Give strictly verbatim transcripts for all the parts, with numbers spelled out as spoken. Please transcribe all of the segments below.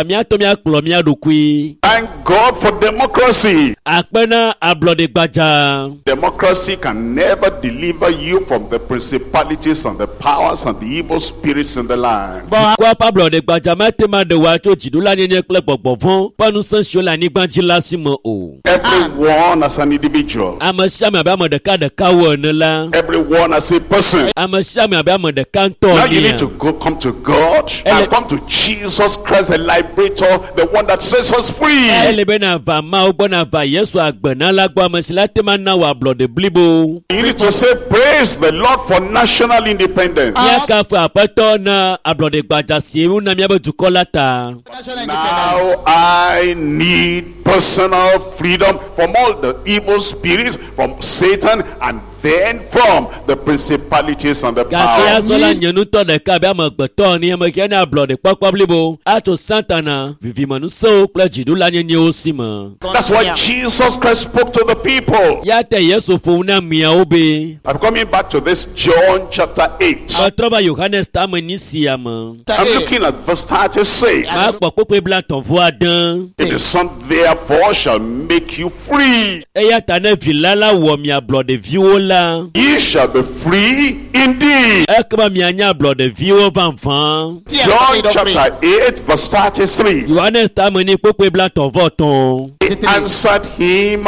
Míatɔ míakplɔ mía ɖokui. Thank God for democracy. Akpe na ablɔɖe gbadza. Democracy can never deliver you from the principalities and the powers and the evil spirits in the land. Dukɔa ƒe ablɔɖe gbadza mate ma ɖe wò tso dziɖulanyenye kple gbɔgbɔ vɔ̃ ƒe ŋusẽ siwo le anyigba dzi la si me o. Everyone as an individual, Ame sia ame abe ame ɖeka ɖeka wo ene la. everyone as a person. Ame sia ame abe ame ɖeka ŋutɔ Now you enea. need to go come to God Ele- and come to Jesus Christ, the liberator, the one that sets us free. Ele be nava Mawu gbɔ nava Yesu agbenala gbɔ ame si la te ma na wò ablɔɖe blibo. You need to say, Praise the Lord for national independence. Míakafu Aƒetɔ na ablɔɖe gbadza si wona míaƒe dukɔ la ta. National independence. Now I need personal freedom from all the evil spirits, from Satan, and then from the principalities and the Gake powers. azɔ la nye ŋutɔ ɖeka abe amegbetɔ ene ame ke ne ablɔɖe kpɔkpɔ blibo atso Satana vivimenusewo kple dziɖulanyenyewo si me. That's why Jesus Christ spoke to the people. Ya te Yesu ƒo nu na ameawo be I'm coming back to this John chapter eight. metrɔ va Yohanes ta ame enyi sia me. I'm looking at verse thirty-six. Makpɔ kpukpui blaetɔ̃ vɔ ade. If the Son therefore shall make you free, Eya ta ne vi la la wɔ mi ablɔɖeviwo la, ye shall be free indeed. ekema mianye ablɔɖeviwo vavã. John chapter eight, verse thirty-three. Yohanes ta ame enyi kpukpui blaetɔ̃ vɔ etɔ̃. They answered him,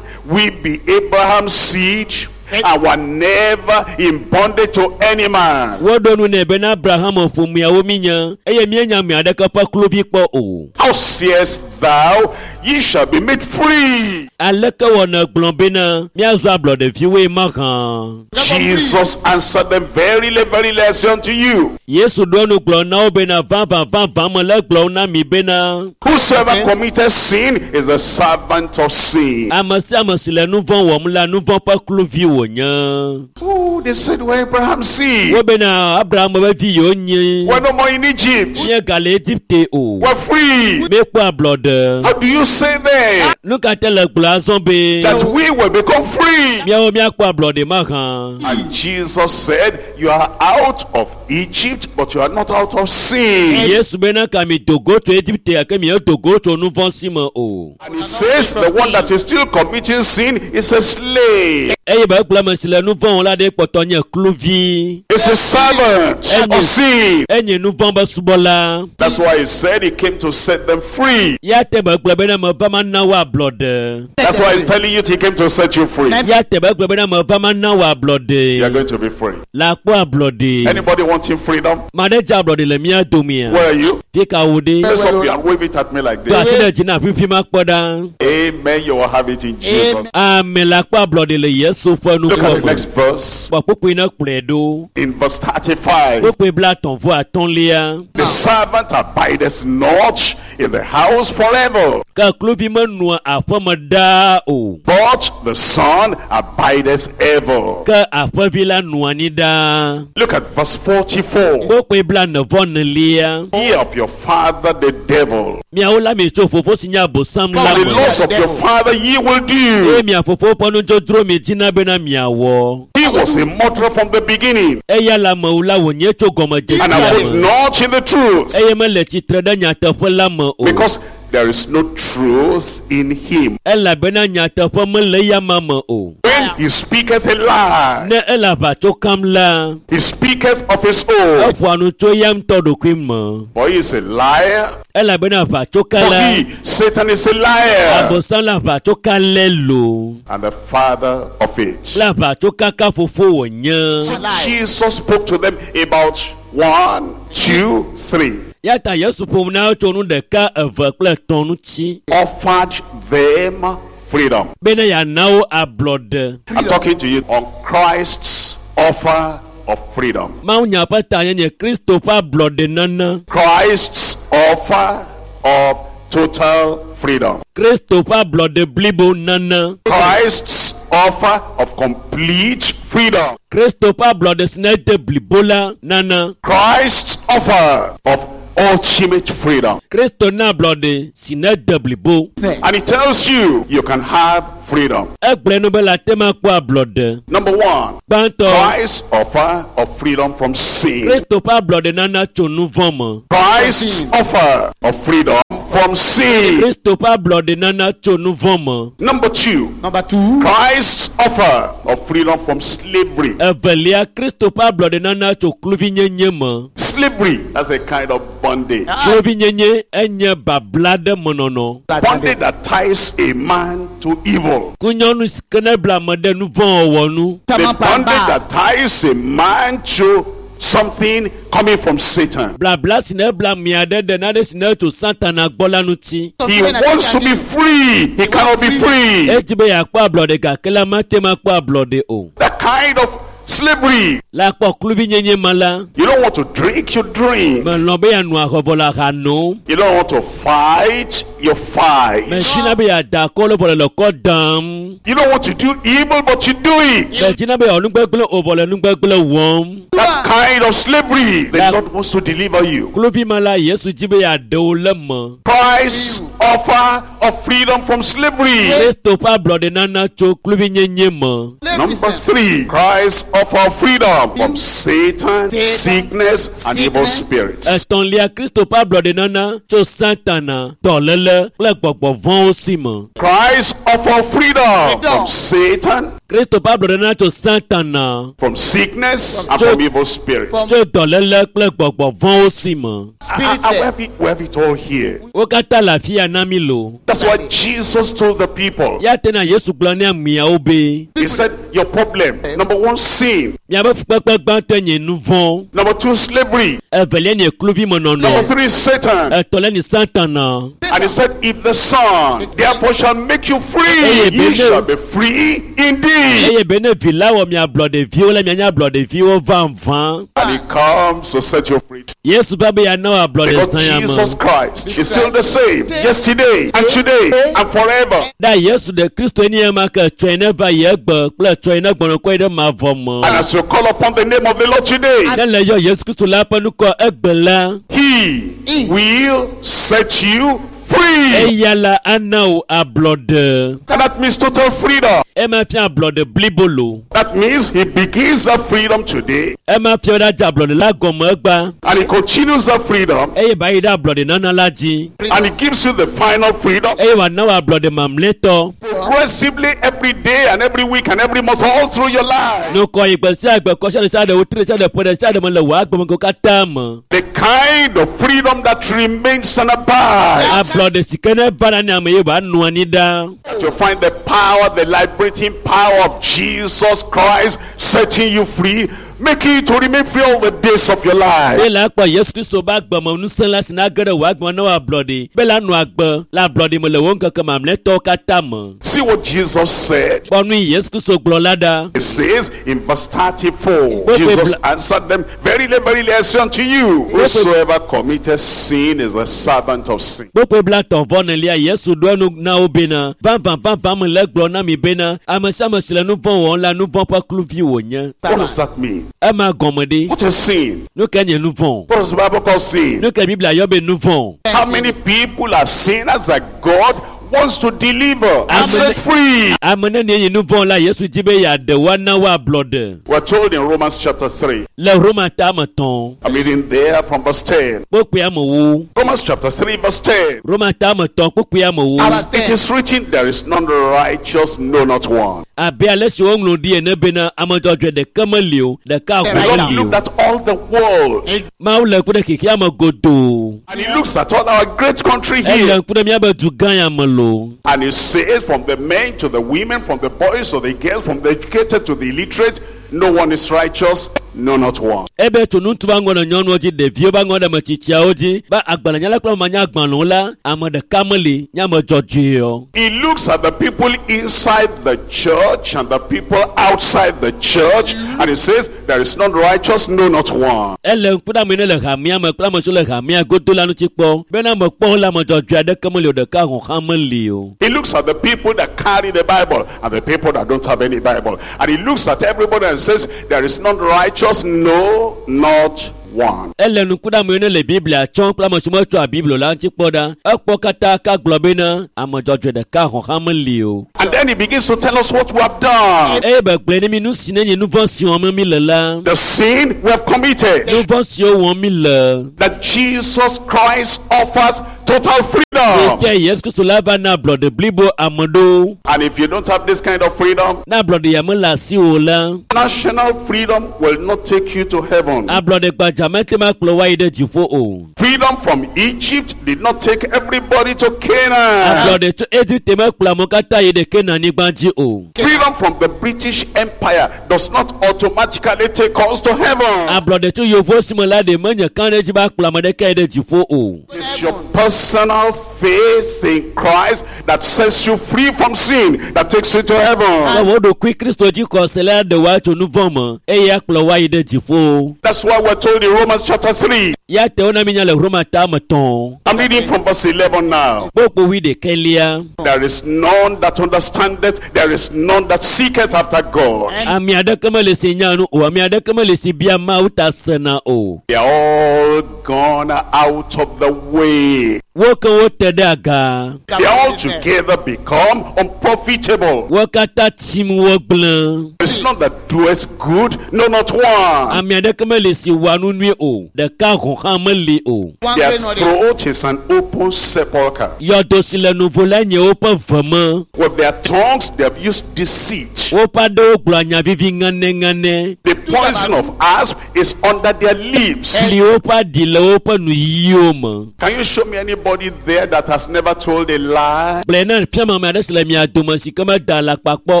We be Abraham's seed, and were never in bondage to any man. Woɖo nu nɛ bena Abraham ƒomeawo míenye eye míenya ame aɖeke ƒe kluvi kpɔ o. How sayest thou, ye shall be made free? Aleke wɔ nègblɔ bena míazɔ ablɔɖeviwoe mahã? Jesus answered them, Verily, verily, I say unto you, Yesu ɖo enu gblɔ na wo bena vavã vavã mele gblɔm na mi bena whosoever committeth sin is a servant of sin. ame sia ame si le nu vɔ̃ wɔm la nu vɔ̃ ƒe kluvi wònye. So they said, We're Abraham's seed. Wo bena Abraham ƒe vi yewo nye. We're no more in Egypt. Míegale Egipte o. We're free. Míekpɔ ablɔɖe. How do you say then Nu ka te le gblɔ azɔ be that we will become free? míawo míakpɔ ablɔɖe mahã? And Jesus said, You are out of Egypt, but you are not out of sin. Yesu bena ka mi do go tso Egipte gake miedo go tso nu vɔ̃ si me o. And he says, The one that is still committing sin is a slave, Eye be egblɔ ame si le nu vɔ̃ wɔm la ɖe kpɔtɔ nye kluvi. is a servant of sin. Enye nu vɔ̃ be subɔla. That's why he said he came to set them free. Ya te be gblɔ bena meva mana wo ablɔɖe. That's why he's telling you he came to set you free. Ya te be gblɔ bena meva mana wo You are ablɔɖe. going to be free. La kpɔ ablɔɖe. Anybody wanting freedom? Ma ɖe dze ablɔɖe le mía domea. Where are you? Fi ka wo ɖe? Raise up your hand, wave it at me like Do this. asi ɖe dzi na fifi ma kpɔ ɖa. Amen. You will have it in Jesus. Ame la kpɔ ablɔɖe le Yesu ƒe Look at nukɔ the me. next verse Kpɔ kpukpui ne kplɔe ɖo. in verse thirty-five. Kpukpui blaetɔ̃ vɔ atɔ̃lia. The servant abideth not in the house forever, Ke kluvi menɔa aƒeme ɖaa o. but the Son abideth ever. Ke aƒevi la nɔa anyi ɖaa. Look at verse forty-four. Kpukpui blaene vɔ enelia. Ye of your father the devil, Miawo la mietso fofo si nye Abosam la and the me. lust of your father ye will Eye do. mia fofo ƒe nudzodzro miedzina bena miawɔ. He was a murderer from the beginning, Eya le amewo la wònye tso and gɔmedzedzea abode me. not in the truth, Eye mele tsitre ɖe nyateƒe la me o. because there is no truth in him. Elabena nyateƒe mele eya ma me o. When he speaketh a lie, Ne ele aʋatso kam la, he speaketh of his own, eƒoa nu tso eya ŋutɔ ɖokui me. for he is a liar. Elabena aʋatsoka For la, he, Satan, is a liar, Abosam le aʋatsoka lé lo. and the father of it. Kple aʋatsokaka fofo wònye. So Jesus spoke to them about one, two, three. Ya ta Yesu ƒo nu na wo tso nu ɖeka, eve kple etɔ̃ ŋuti. Offered them freedom. Bena yeana wo ablɔɖe. I'm talking to you on Christ's offer of freedom. Mawunya ƒe ta nye nye Kristo ƒe ablɔɖe nana. Christ's offer of total freedom. Kristo ƒe ablɔɖe blibo nana. Christ's offer of complete freedom. Kristo ƒe ablɔɖe si ne de blibo la nana. Christ's offer of ultimate freedom. Kristo na ablɔɖe si ne de blibo. And he tells you, you can have freedom. Egblɔe nu be le ate ma kpɔ ablɔɖe. Number one, Gbãtɔ, Christ's offer of freedom from sin. Kristo ƒe ablɔɖe nana tso nu vɔ̃ me. Christ's offer of freedom from sin. Kristo ƒe ablɔɖe nana tso nu vɔ̃ me. Number two, Number two, Christ's offer of freedom from slavery. Evelia Kristo ƒe ablɔɖe nana tso kluvinyenye me. Slavery, that's a kind of bondage. Kluvinyenye enye babla ɖe menɔnɔ. Bondage that ties a man to evil. Kunyɔnu si ke ne bla ame ɖe nu vɔ̃ wɔwɔ nu. The bondage that ties a man to something coming from Satan. Blabla si ne bla amea ɖe ɖe nane si ne tso Satana gbɔ la ŋuti. He wants to be free. He cannot be free. Edi be yeakpɔ ablɔɖe gake la mate ŋu akpɔ ablɔɖe o. That kind of slavery. Le akpɔ kluvinyenye ma la, You don't want to drink, you drink. melɔ̃ be yeanɔ ahɔvɔ le aha nom. You don't want to fight, you fight. Medzina be yeada akɔ le vɔ le lɔkɔ dam. You don't want to do evil, but you do it. Medzina be yeawɔ nugbegblẽ o vɔ le nugbegblẽ wɔm. That kind of slavery, the That- Lord wants to deliver you. Kluvi ma la, Yesu dzi be yeaɖe wo le me. Christ's offer of freedom from slavery. Kristo ƒe ablɔɖe nana tso kluvinyenye me. Number three, Christ's offer of freedom from Satan, sickness, and evil spirits. Etɔ̃lia, Kristo ƒe ablɔɖe nana tso Satana, dɔléle kple gbɔgbɔ vɔ̃wo si me. Christ's offer of freedom from Satan, Kristo ƒe ablɔɖe nana tso Satana, from sickness, and So- from evil spirits. tso dɔléle kple gbɔgbɔ vɔ̃wo si me. And, and we, have it, we have it all here. Wo katã le afi ya na mi lo. That's what Jesus told the people. Ya tena Yesu gblɔ ne ameawo be He said, Your problem, number one, sin. miabe fukpekpe gbãtɔe nye nu vɔ̃, Number two, slavery. evelia nye kluvimenɔnɔ, Number three, Satan. etɔ̃lia nye Satana. And he said, If the Son therefore shall make you free, Hey, ye Bene. shall be free indeed. Eye be ne vi la wɔ mia ablɔɖeviwo la mianye ablɔɖeviwo vavã. And he comes to set you free. Yesu va be yeana wò ablɔɖe Because zã ya me. Jesus Christ is still the same yesterday and today and forever. Da Yesu ɖe Kristo nye ema ke tsɔe ne va yi egbe kple tsɔe ne gbɔnɔkɔe ɖe mavɔ me. And as you call upon the name of the Lord today, Ne le yɔ Yesu Kristo la ƒe nukɔ egbe la, he will set you free. eya la ana wò ablɔɖe. And that means total freedom. Ema fia ablɔɖe blibo lo. That means he begins that freedom today Ema fia be ɖadze ablɔɖe la gɔme egba and he continues that freedom eye ba yi ɖe ablɔɖe nana la dzi and he gives you the final freedom eye wòana wò ablɔɖe mamlɛtɔ. progressively every day and every week and every month all through your life. Nukɔ yi gbe sia gbe kɔ sia ɖe sia ɖe wotri ɖe sia ɖe ƒe ɖe sia ɖe me le wò agbemeŋkewo katã me. The kind of freedom that remains and abides. Ablɔɖe si ke ne va na ne ame ye wòanɔ anyi ɖa. To find the power, the liberating power of Jesus Christ setting you free, making you to remain free all the days of your life. Be la kpɔ Yesu Kristo be agbeme ŋusẽ la si na ge ɖe wò agbe na wò ablɔɖe. Be la nɔ agbe le ablɔɖe me le wò ŋkeke mamlɛtɔwo katã me. See what Jesus said. Kpɔ nu yi Yesu Kristo gblɔ la ɖa. It says in verse thirty-four, Wait, Jesus wait, answered them, Verily, verily, I say unto you, whosoever committeth sin is the servant of sin. Kpokpoe blatɔ̃ vɔ nelia Yesu ɖo enu na wo bena vavã vavã me le gblɔ na mi bena ame sia ame si le nu vɔ̃ wɔm la nu vɔ̃ ƒe kluvi wònye. What does that mean? Ema gɔme ɖi. What is sin? Nu ke nye nu vɔ̃? What does the Bible call sin? Nu ke Biblia yɔ be nu vɔ̃? How many people are sinners that God wants to deliver and Amen. set free? Ame nenie nye nu vɔ̃ la Yesu di be yeaɖe woana wo ablɔɖe. We're told in Romans chapter three. Le Roma ta me tɔ̃ I'm reading there from verse ten. kpokpoea me wo. Romans chapter three, verse ten. Roma ta me tɔ̃ kpokpoea me wo. As it is written, there is none righteous, no, not one. Abe ale si woŋlɔ ɖi ene bena ame dzɔdzɔe ɖeke meli o, ɖeka The hã Lord meli o. looked at all the world Mawu le ŋku ɖe xexea me godoo. and he looks at all our great country Ele here. ŋku ɖe míabe du gã ya me lo. And he says, from the men to the women, from the boys to the girls, from the educated to the illiterate, no one is righteous, no, not one. Ebe tso ŋutsu va ŋgɔ ɖe nyɔnuwo dzi, ɖeviwo va ŋgɔ ɖe ame tsitsiawo dzi. Be agbalẽnyala kple amenya agbalẽwo la, ame ɖeka meli nye ame dzɔdzɔe o. He looks at the people inside the church and the people outside the church, and he says, there is none righteous, no, not one. Ele ŋku ɖe ame yi ne le hamea me kple ame siwo le hamea godo la ŋuti kpɔ. Bena ame kpɔ la ame dzɔdzɔe aɖeke meli o, ɖeka hɔ̃ hã meli o. He looks at the people that carry the Bible and the people that don't have any Bible. And he looks at everybody and says, there is none righteous, no, not one. Ele ŋku ɖe ame yiwo ne le Biblia tsɔm kple ame siwo metsɔa Biblia o la ŋuti kpɔ ɖa. Ekpɔ katã ka gblɔ bena ame dzɔdzɔe ɖeka hɔ̃ hã meli o. And then he begins to tell us what we have done. Eye be gblɔe ne mi nu si ne nye nu vɔ̃ si wɔm mi le la, The sin we have committed. nu vɔ̃ siwo wɔm mi le. That Jesus Christ offers total freedom. Te Yesu Kristu la va na ablɔɖe blibo ame ɖewo. And if you don't have this kind of freedom, Ne ablɔɖe ya mele asiwò o la, national freedom will not take you to heaven. ablɔɖe gbadza mete ma kplɔ wo ayi ɖe dziƒo o. Freedom from Egypt did not take everybody to Canaan. Ablɔɖe tso Egipte mekplɔ amewo katã yi ɖe Kenanyigba dzi o. Freedom from the British Empire does not automatically take us to heaven. Ablɔɖe tso yevuwo si me la ɖe menye kã ɖe edzi be akplɔ ame ɖeka yi ɖe dziƒo o. It's your personal faith in Christ that sets you free from sin, that takes you to Ke heaven. wo ɖokui Kristo dzi xɔse la ɖe woa tso nu vɔ̃ me eye akplɔ wo ayi ɖe dziƒo. That's why we're told in Romans chapter three. Ya te wona mi nya le Roma ta me tɔ̃. I'm reading from verse eleven now. Kpokpo wuiɖekɛlia. There is none that understandeth, there is none that seeketh after God. Ame aɖeke mele si nya nu o. Ame aɖeke mele si bia Mawu ta sena o. They are all gone out of the way. Wo ke wote ɖe aga. They all together become unprofitable. Wo katã tim wo gblẽ. There is none that doeth good, no, not one. Ame aɖeke mele si wɔa nu nyui o. Ɖeka hɔ̃ hã meli o. Their throat is an open sepulchre. Yɔdo si le nuvo la nye woƒe ve me. With their tongues they have used deceit. Woƒe aɖewo gblɔa nya vivi ŋanɛŋanɛ. The poison of asp is under their lips. Li woƒe aɖi le woƒe nuyiwo me. Can you show me anybody there that has never told a lie? Gblɔe na fiam ame aɖe si le mia dome si ke meda alakpa kpɔ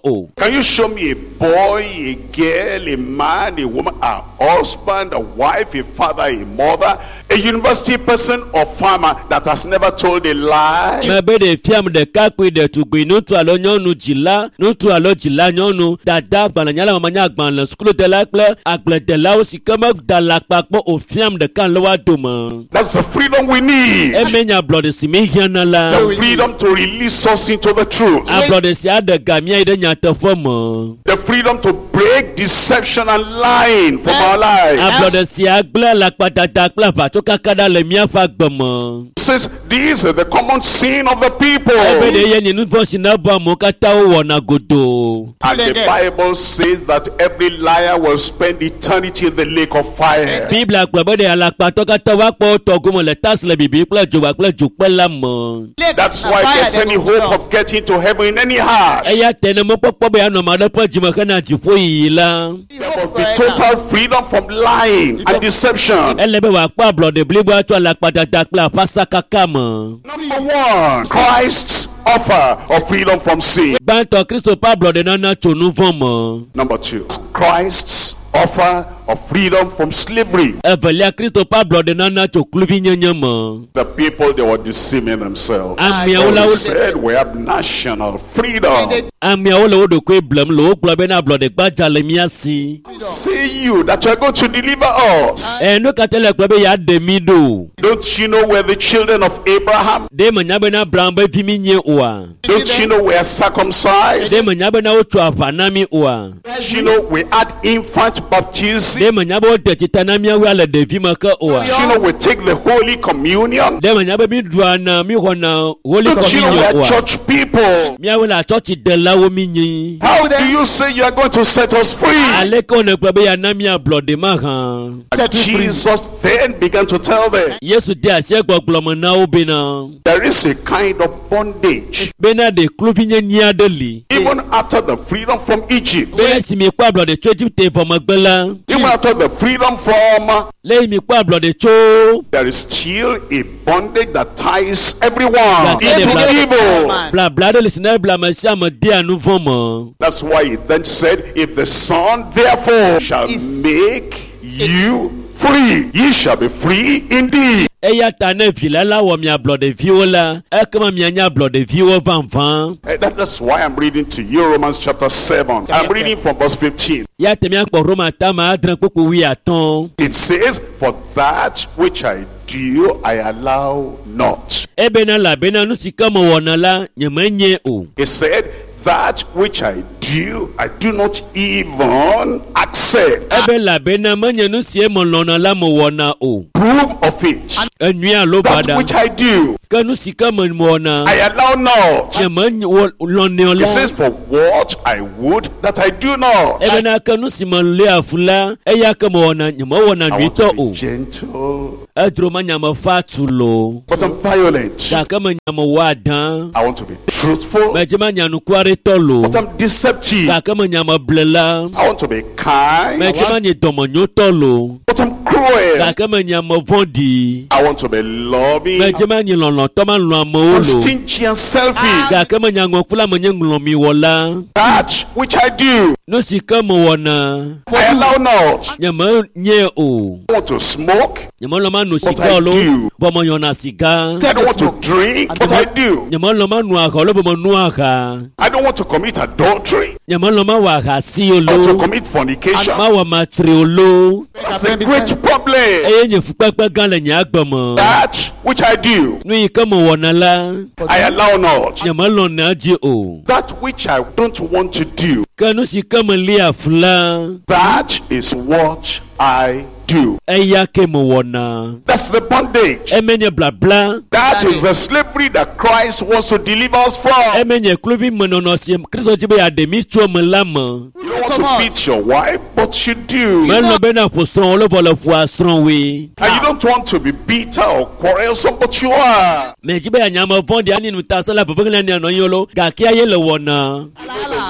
o. Can you show me a boy, a girl, a man, a woman, a husband, a wife, a father, a mother, a university person or farmer that has never told a lie? Mebe ɖe fiam ɖekakpui ɖetugbui ŋutsu alo nyɔnu dzila ŋutsu alo dzila nyɔnu dada agbalẽnyala mamanya agbalẽ sukuludela kple agbledelawo si ke meda alakpa kpɔ o fiam ɖeka le woa dome. That's the freedom we need. Eme nye ablɔɖe si mi hiãna la. The freedom to release us into the truth. Ablɔɖe si aɖe ga mía yi ɖe nyateƒe me. The freedom to break deception and lying from our lives. Ablɔɖe si agblẽ alakpadada kple aʋatsokaka ɖa le míaƒe agbe me. It says these are the common sin of the people. Ebe ɖe ye nye nu vɔ̃ si ne bɔ amewo katã wowɔna godoo. And the Bible says that every liar will spend eternity in the lake of fire. Biblia gblɔ be ɖe alakpatɔ katã woakpɔ wo tɔ gome le tasi le bibi kple dzoba kple dzokpe la me. That's why there's any hope of getting to heaven in any heart. Eya ta ne mɔkpɔkpɔ be yeanɔ ame aɖe ƒe dzime hena dziƒoyiyi la, There must be total freedom from lying and deception. ele be wòakpɔ ablɔɖe bliboa tso alakpadada kple aƒasakaka me. Number one, Christ's offer of freedom from sin. Gbãtɔ Kristo ƒe ablɔɖe nana tso nu vɔ̃ me. Number two, Christ's offer of freedom from slavery. Evelia Kristo ƒe ablɔɖe nana tso kluvinyenye me. The people, they were deceiving themselves. Ameawo la They wo said we have national freedom. ameawo le wo ɖokui blem le wogblɔ bena ablɔɖe gbadza le mía si. Say you that you are going to deliver us. Ɛ nu ka ta le gblɔ be yeaɖe mí ɖo? Don't you know we're the children of Abraham? Ɖe menya bena Abraham be vi mí nye oa? Don't you know we are circumcised? Ɖe menya bena wotso aʋa na mí oa? Don't you know we had infant baptism? Ɖe menya be wode tsita na míawoe le ɖevi me ke oa? Don't you know we take the Holy Communion? Ɖe menya be mí ɖua na mí xɔna Holy Don't you know we Communion are oa? church people? Míawoe le atsɔtsidelawo mí nyi. How do you say you are going to set us free? Aleke wòne gblɔ be yeana mí ablɔɖe mahã? And Jesus then began to tell them Yesu de asi egbɔgblɔ me na wo bena there is a kind of bondage. bena ɖe kluvinyenye aɖe li. Even after the freedom from Egypt, Bena esi miekpɔ ablɔɖe tso Egipte vɔ megbe la, even after the freedom from, le yi miekpɔ ablɔɖe tso there is still a bondage that ties everyone That into everybody- evil. blabla aɖe li si ne bla ame sia ame dea nu vɔ̃ me. That's why he then said, if the Son therefore shall make you free, ye shall be free indeed. Eya ta ne vi la la wɔ mi ablɔɖeviwo la, ekema mianye ablɔɖeviwo vavã. Eh, that- that's why I'm reading to you Romans chapter seven. I'm reading from verse fifteen. Ya te miakpɔ Roma tame adre kpukpu wuiatɔ̃. It says, for that which I do, I allow not. Ebena elabena nu si ke mewɔna la, nyemenye o. It said, that which I do, do, I do not even accept. Ebe elabena menye nu sie melɔ̃na la mewɔna o. Proof of it. Enyui alo That baɖa. which I do, Ke nu si ke mewɔna I allow not. nye melɔ̃nɛ o He la. says, for what I would, that I do not. Ebena ke nu si meléa fu la eya ke mewɔna nye mewɔna I want nyuitɔ to be o. gentle, Edro ma nya mefa tu lo. but I'm violent. Gake menya mewɔ adã. I want to be truthful, Medze ma nya nukuaretɔ lo. but I'm deceptive. Gake menya meble la. I want to be kind, Medze ma nye dɔmenyotɔ lo. but I'm cruel. Gake menya mevɔ̃ɖi. I want to be loving, Medze ma nye lɔlɔ̃tɔ ma lɔ̃ amewo I'm lo. stingy and selfish. Gake menya ŋɔkula menye ŋlɔmiwɔla. That which I do, Nu si ke mewɔna I allow not. nye menye o. I want to smoke, Nye melɔ̃ ma no But siga I o lo. do. Vɔ meyɔna siga. I don't want to drink, but I do. Nye melɔ̃ ma no aha o lo vɔ menoa aha. I don't want to commit adultery Nye melɔ̃ ma wɔ ahasi o or to lo. commit fornication. Ma wɔ matri o lo. That's a great problem. Eye nye fukpekpe gã le nye agbe me. That which I do, Nu yi ke mewɔna la I allow not. nye melɔ̃na dzi o. That which I don't want to do, Ke nu si ke melia fu la that is what I do. eya ke mewɔna. That's the bondage. Eme nye blabla. That is the slavery that Christ wants to deliver us from. Eme nye kluvi menɔnɔ si Kristo dzi be yeaɖe mí tso eme la me. You don't want to beat your wife, but you do. Melɔ̃ bena ƒo srɔ̃wò lo vɔ le ƒoa srɔ̃woe. And you don't want to be bitter or quarrelsome, but you are. Medzi be yeanye ame vɔ̃ɖi ani nutasela veveglia ne anɔ anyi o lo gake ye le wɔna.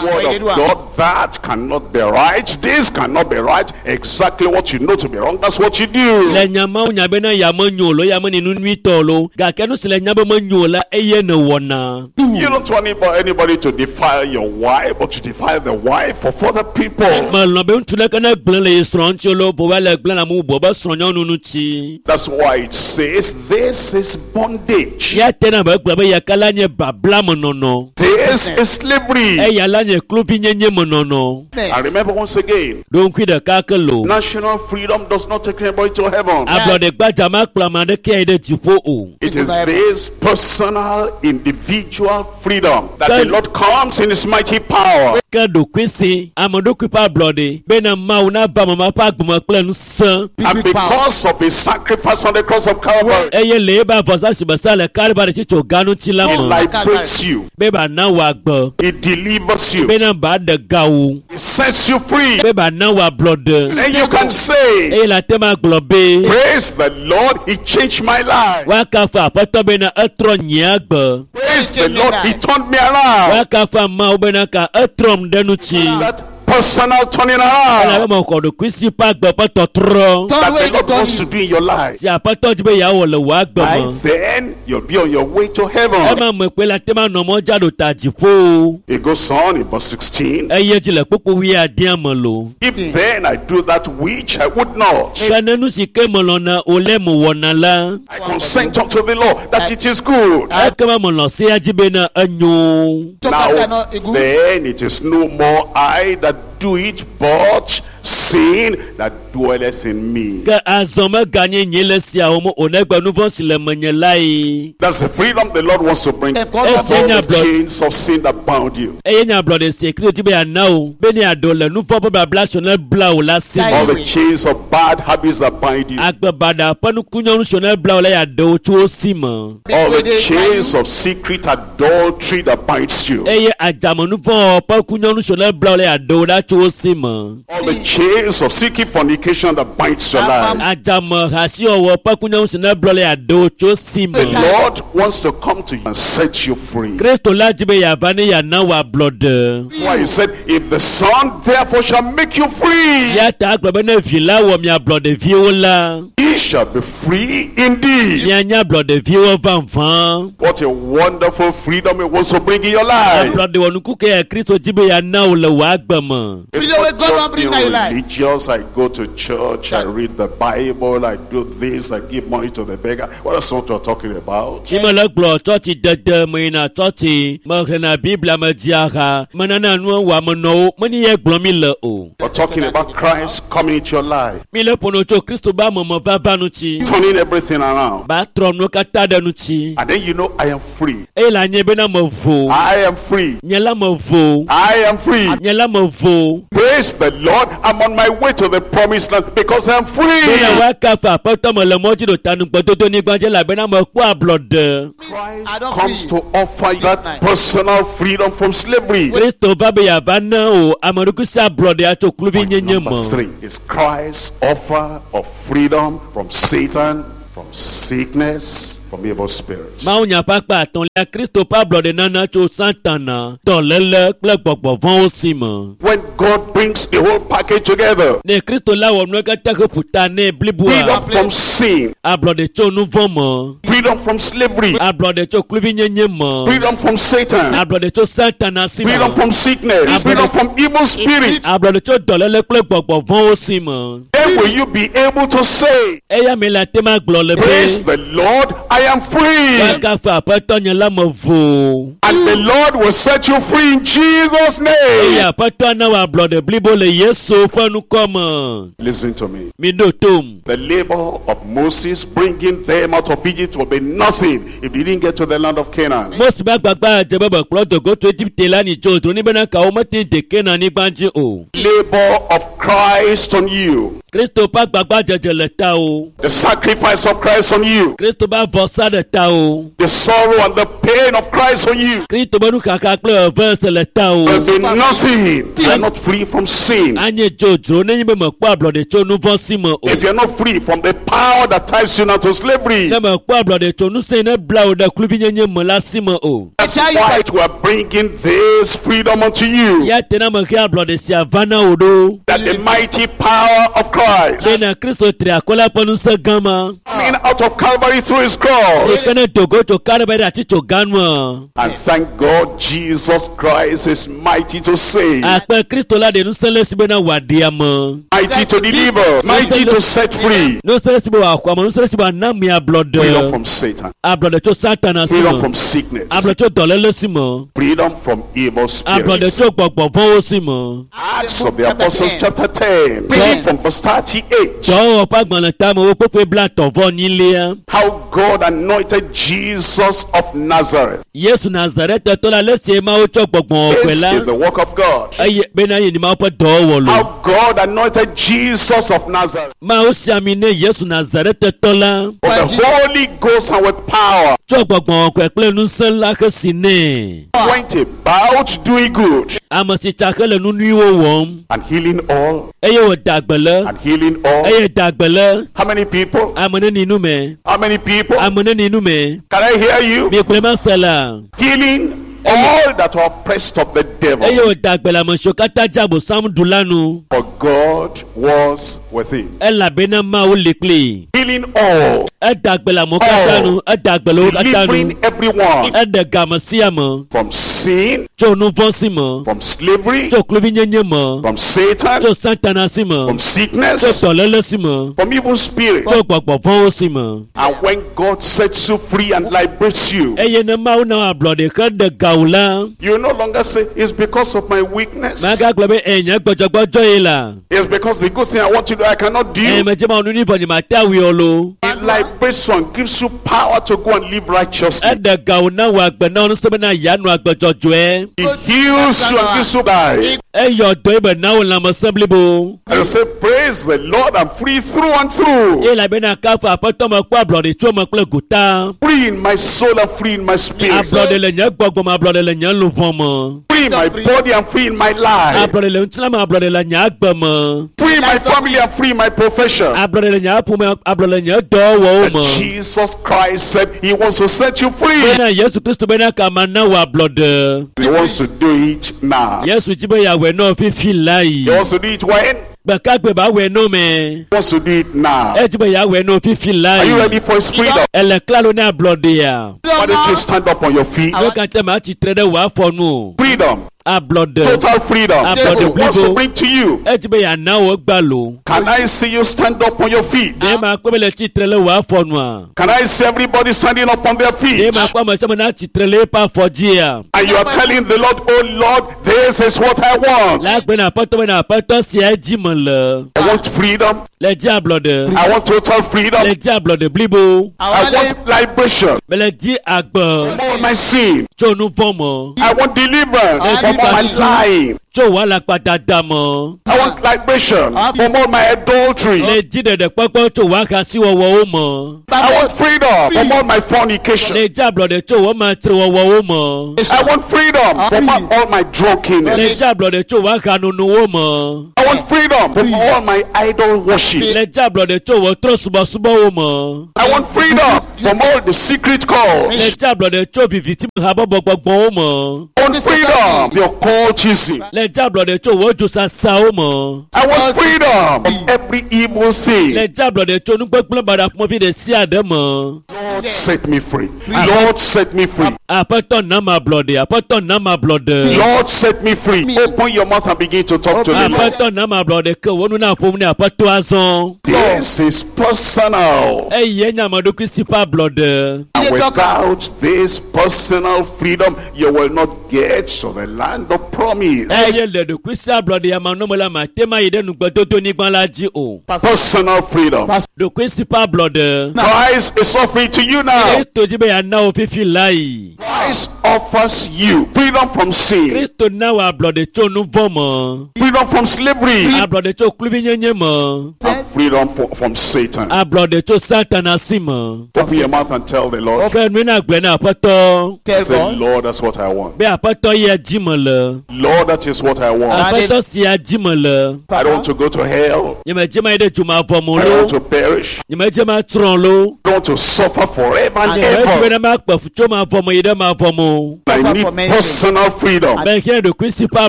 The word of God, that cannot be right. This cannot be right. Exactly what you know to be wrong, that's what you do. Le nya mawo nya bena ya menyo o lo ya menye nu nyuitɔ o lo gake nu si le nya be menyo o la eye ne wɔna. You don't want anybody, anybody to defile your wife, but to defile the wife of other people. Melɔ̃ be ŋutsu ɖeke ne gblẽ le ye srɔ̃ ŋuti o lo vɔ va le gblẽ le ame bubu be srɔ̃nyɔnu ŋuti. That's why it says this is bondage. Ya tena be gblɔ be yaka la nye babla menɔnɔ. This is slavery. Eya la nye kluvinyenye menɔnɔ. I remember once again, Ɖo ŋkui ɖeka ke lo. national freedom does not take anybody to heaven. Ablɔɖe gbadza ma kplɔ ame aɖeke ayi ɖe dziƒo o. It is this personal, individual freedom that the Lord comes in His mighty power. Ke ɖokuisi ame ɖokui ƒe ablɔɖe bena Mawu nava ame ma ƒe agbeme kple ŋusẽ. And because of His sacrifice on the cross of Calvary, Eye le ebe avɔsa si be sa le Kalvari tsitso gã ŋuti la He me liberates you, be ba na wò agbe He delivers you, bena ba ɖe ga wò He sets you free. be ba na wò ablɔɖe. And you can say, Eye le ate ma gblɔ be Praise the Lord, He changed my life. woakafu aƒetɔ bena etrɔ nye agbe. Praise the Lord, He turned me around. Woakafu Mawu bena ka etrɔm ɖe ŋuti. That personal turning around Elabe mexɔ ɖokuisi ƒe agbe ƒe tɔtrɔ that the Lord wants to do in your life. si aƒetɔ dzi be yeawɔ le wò agbe me. Then you'll be on your way to heaven. Ema me kpe la te ma nɔ mɔ dza ɖo ta dziƒo. It goes on in verse sixteen. Eye dzi le kpukpu wuiadea me lo. If then I do that which I would not, Ke ne nu si ke melɔ̃na o le mewɔna la, I consent unto the law that it is good. ekema melɔ̃ sea dzi bena enyo. Now then it is no more I that do it, but sin that dwelleth in me. Ke azɔ meganye nye le siawo me o negbe nu vɔ̃ si le menye lae. That's the freedom the Lord wants to bring. All Esia nye the ablɔ chains of sin that bound you. eye nye ablɔɖe si Kristo dzi be yeana wo be ne yeaɖo le nu vɔ̃ ƒe babla si ne bla wò la si All me. the chains of bad habits that bind you. Agbe baɖa ƒe nukunyɔnu si ne bla wò la yeaɖe wo tso wo si me. All the chains of secret adultery that binds you. Eye adzamenuvɔ̃ ƒe kunyɔnu si ne bla wò la yeaɖe wo ɖa tso wo si me. All the chains of secret fornication that binds your life. Adzame hasiwɔwɔ ƒe kunyɔnu si ne bla wò la yeaɖe wo tso si The me. Lord wants to come to you and set you free. Kristo la dzi be yeava ne yeana wò ablɔɖe. That's why he said, if the Son therefore shall make you free, Ya ta agblɔ be ne vi la wɔ mi ablɔɖeviwo la, ye shall be free indeed. mianye ablɔɖeviwo vavã. What a wonderful freedom he wants to bring in your life. Ablɔɖe wɔnuku ke ya Kristo dzi be yeana wò le wò agbe me. It's Freedom not wey God just wan bring being na your life. religious. I go to church, I read the Bible, I do this, I give money to the beggar. Well, that's not what we're talking about. Mi mele gblɔ tsɔtsi dede meyina tsɔtsi mexlẽna Biblia me dzia ha menana nu wɔamenɔwo menye ye gblɔm mi le o. We're talking about Christ coming into your life Mi le ƒo nu tso Kristo be ameme vava ava ŋuti. Turning everything around. Ba trɔ nuwo katã ɖe ŋuti. And then you know I am free. Eye le anye bena mevo. I am free. Nye la mevo. I am free. Nye la mevo. Praise the Lord. I'm on my way to the promised land because I'm free. Bena woakafu aƒetɔ me le mɔ dzi ɖo ta nugbedodo nyigba dzi elabena mekpɔ ablɔɖe. Christ comes to offer you that personal freedom from slavery. Kristo va be yeava na o ame ɖokui si ablɔɖea tso kluvinyenye Number me. three is Christ's offer of freedom from Satan, from sickness, from evil spirits. Mawunya ƒe akpa atɔ̃lia Kristo ƒe ablɔɖe nana tso Satana, dɔléle kple gbɔgbɔ vɔ̃wo si me. When God brings the whole package together, Ne Kristo la wɔ nuwo katã he ƒu ta nɛ bliboa, freedom from sin, ablɔɖe tso nu vɔ̃ me, freedom from slavery, ablɔɖe tso kluvinyenye me, freedom from Satan, ablɔɖe tso Satana si me, freedom from sickness, freedom from evil spirits. ablɔɖe tso dɔléle kple gbɔgbɔ vɔ̃wo si me. Then will you be able to say, Eya me le ate ma gblɔ le Praise be the Lord, I am free. woakafu aƒetɔ nye la me vo. And the Lord will set you free in Jesus' Eye name. aƒetɔ na wò ablɔɖe blibo le Yesu ƒe ŋkɔ me. Listen to me. Mi ɖo tom. The labor of Moses bringing them out of Egypt will be nothing if they didn't get to the land of Canaan. Mose be agbagba dze be bekplɔ dogo tso Egipte la ni tso dro ni bena kawo mete de Kanaan nyigba dzi o. Labor of Christ on you, Kristo ƒe agbagba dzedze le ta o. the sacrifice of Christ on you, Kristo ƒe avɔsa ɖe ta o. the sorrow and the pain of Christ on you. Kristo ƒe nuxaxa kple eve se le ta o. Will be nothing. You are not free from sin. Anye dzodzro nenye be mekpɔ ablɔɖe tso nu vɔ̃ si me o. If you're not free from the power that ties you now to slavery, Ne mekpɔ ablɔɖe tso ŋusẽ ne bla wò ɖe kluvinyenye me la si me o. that's why we are bringing this freedom unto you. Ya te na mehe ablɔɖe sia va na wò ɖo. That the mighty power of Christ Bena Kristo tri akɔ la ƒe ŋusẽ gã ma. coming out of Calvary through his cross. Si ke ne dogo tso Kalvari ɖe ati tso ganua. And thank God Jesus Christ is mighty to save, Akpe Kristo la ɖe ŋusẽ le esi bena wòaɖe ame. mighty to deliver, mighty to set free. Ŋusẽ le esi be wòaxɔ ame, ŋusẽ le esi be wòana ame Freedom ablɔɖe. from Satan, Ablɔɖe tso Satana si freedom me. from sickness, Ablɔɖe tso dɔléle si me. freedom from evil Ablɔɖe spirits. tso gbɔgbɔ vɔ̃wo si me. Acts of the Apostles chapter ten, reading from verse thirty-eight. Dɔwɔwɔ ƒe agbalẽ tamewo kpekpe blaetɔ̃ vɔ enyilia. How God anointed Jesus of Nazareth. Yesu Nazaretetɔ la ale si Mawu tsɔ gbɔgbɔ kɔkɔe This la is the work of God. eye bena ye ni Mawu ƒe dɔwɔwɔ lo. How God anointed Jesus of Nazareth Mawu si ami ne Yesu Nazaretetɔ la with the Holy Ghost and with power. tsɔ gbɔgbɔ kɔkɔe kple ŋusẽ la he si nɛ. Went about doing good Ame si tsa xe le nu nyuiwo wɔm and healing all eye wòda gbe le and healing all. eye da gbe le How many people? ame neni nu me How many people? ame neni nu me Can I hear you? miekplɔe ma se la Healing all that were oppressed of the eye devil. wòda gbe le ame siwo katã dze abosam ɖu la nu For God was with him. elabena Mawu li kplii. Healing all, Eda gbe le amewo katã nu eda gbe le wo katã nu delivering everyone eɖe game sia me from sin, tso nu vɔ̃ si me from slavery, tso kluvinyenye me from Satan, tso Satana si me from tso sickness, dɔléle si me from evil spirits. tso gbɔgbɔ vɔ̃wo si me. And when God sets you free and liberates you, eye ne Mawu na ablɔɖe xe ɖe gawu la you no longer say, It's because of my weakness. magagblɔ be "Ɛ, nye gbɔdzɔgbɔdzɔ ye la It's because the good thing I want to do, I cannot ɛ do. medze ma nu nyui vɔ nye mate awui o lo. He liberates you and gives you power to go and live righteously. Eɖe gawu na wò agbe na wò ŋusẽ bena yeanɔ agbe dzɔdzɔe. He heals you and gives you life. Eyɔ dɔ ye be na wò lãmesẽ blibo. And you say, Praise the Lord, I'm free through and through. Eye elabena kafu aƒetɔ me kpɔ ablɔɖe tso me kple gota. Free in my soul and free in my spirit. Ablɔɖe le nye gbɔgbɔ me, ablɔɖe le nye luʋɔ me. Free in my body and free in my life. Ablɔɖe le ŋutilã me, ablɔɖe le nye agbe me. Free in my family and free in my profession. Ablɔɖe le nye aƒome, ablɔɖe le nye dɔwɔwɔwo me. Jesus Christ said he wants to set you free. Bena Yesu Kristo bena kama na wò ablɔɖe. He wants to do it now. Yesu dzi be yeawɔe nɔ fifi la yi. He wants to do it when? Gbekagbe ba wɔe nɔ me. He wants to do it now. Edzi be yeawɔe nɔ fifi la Are you yi. ready for his freedom? Ele klalo ne ablɔɖea. Why don't you stand up on your feet? Nu katã ma tsitre ɖe wò afɔ nu o. Freedom. Ablɔɖe. Total freedom. Ablɔɖe He wants to blibo. bring to you. Edzi be yeana wò egba lo. Can I see you stand up on your feet? Ɖe ma kpɔ be le tsitre le wò afɔ nua? Can I see everybody standing up on their Ɖe feet? ma kpɔ ame sia ame na tsitre le eƒe afɔ dzia? And you are telling the Lord, oh Lord, this is what I want. Le agbe na aƒetɔ be na aƒetɔ sia dzi me le. I want freedom. Le di ablɔɖe. I want total freedom. Le di ablɔɖe blibo. I want liberation Mele di agbe from all my sin. tso nu vɔ̃ me. I want deliverance from all my lying. Tso wò alakpadada me. I want liberation from all my adultery. Le di ɖeɖekpɔkpɔ tso wò ahasiwɔwɔwo me. I want freedom from all my fornication. Le di ablɔɖe tso wò matrewɔwɔwo me. I want freedom from all my Le drunkenness. di ablɔɖe tso wò ahanonowo me. I want freedom from all my idol worship. Le di ablɔɖe tso wò trɔ̃subɔsubɔwo me. I want freedom from all the secret calls. Le di ablɔɖe tso viviti habɔbɔ gbɔgbɔwo me. I want freedom from the occultism. Le di ablɔɖe tso wò dzosasawo me. I want freedom from every evil sin. Le di ablɔɖe tso nugbegblẽ baɖa ƒomevi ɖe sia ɖe me. Lord, set me free. Lord, set me free. Aƒetɔ na ma ablɔɖe. Aƒetɔ na ma ablɔɖe. Lord, set me free. Open your mouth and begin to talk to the Lord. Aƒetɔ na ma ablɔɖe ke wò nu na ƒom ne aƒetɔ azɔ. This is personal. Eye nye ame ɖokui si ƒe ablɔɖe. And without this personal freedom, you will not get to the land of promise. Eye le ɖokui si ablɔɖe ya manɔme la mate ma yi ɖe nugbedodo nyigba la dzi o. Personal freedom. Ɖokui si ƒe ablɔɖe. Christ is offering to you now. Kristo dzi be yeana wò fifi la yi. Christ offers you freedom from sin, Kristo na wò ablɔɖe tso nu vɔ̃ me. freedom from slavery, Ablɔɖe tso kluvinyenye me. and freedom for, from Satan. Ablɔɖe tso Satana si me. Open your mouth and tell the Lord. Ke nui na gblɔe na aƒetɔ Tell Say, God. Lord, that's what I want. be aƒetɔ yia dzi me le. Lord, that is what I want. Aƒetɔ sia dzi me le. I don't want to go to hell. Nyemedze ma yi ɖe dzomavɔ me I don't lo. want to perish. Nyemedze ma tsrɔ̃ lo. I don't want to suffer forever and Nyemedze ever. bena makpe fu tso mavɔ me yi ɖe mavɔ me o. I need personal freedom Mehiã ɖokui si ƒe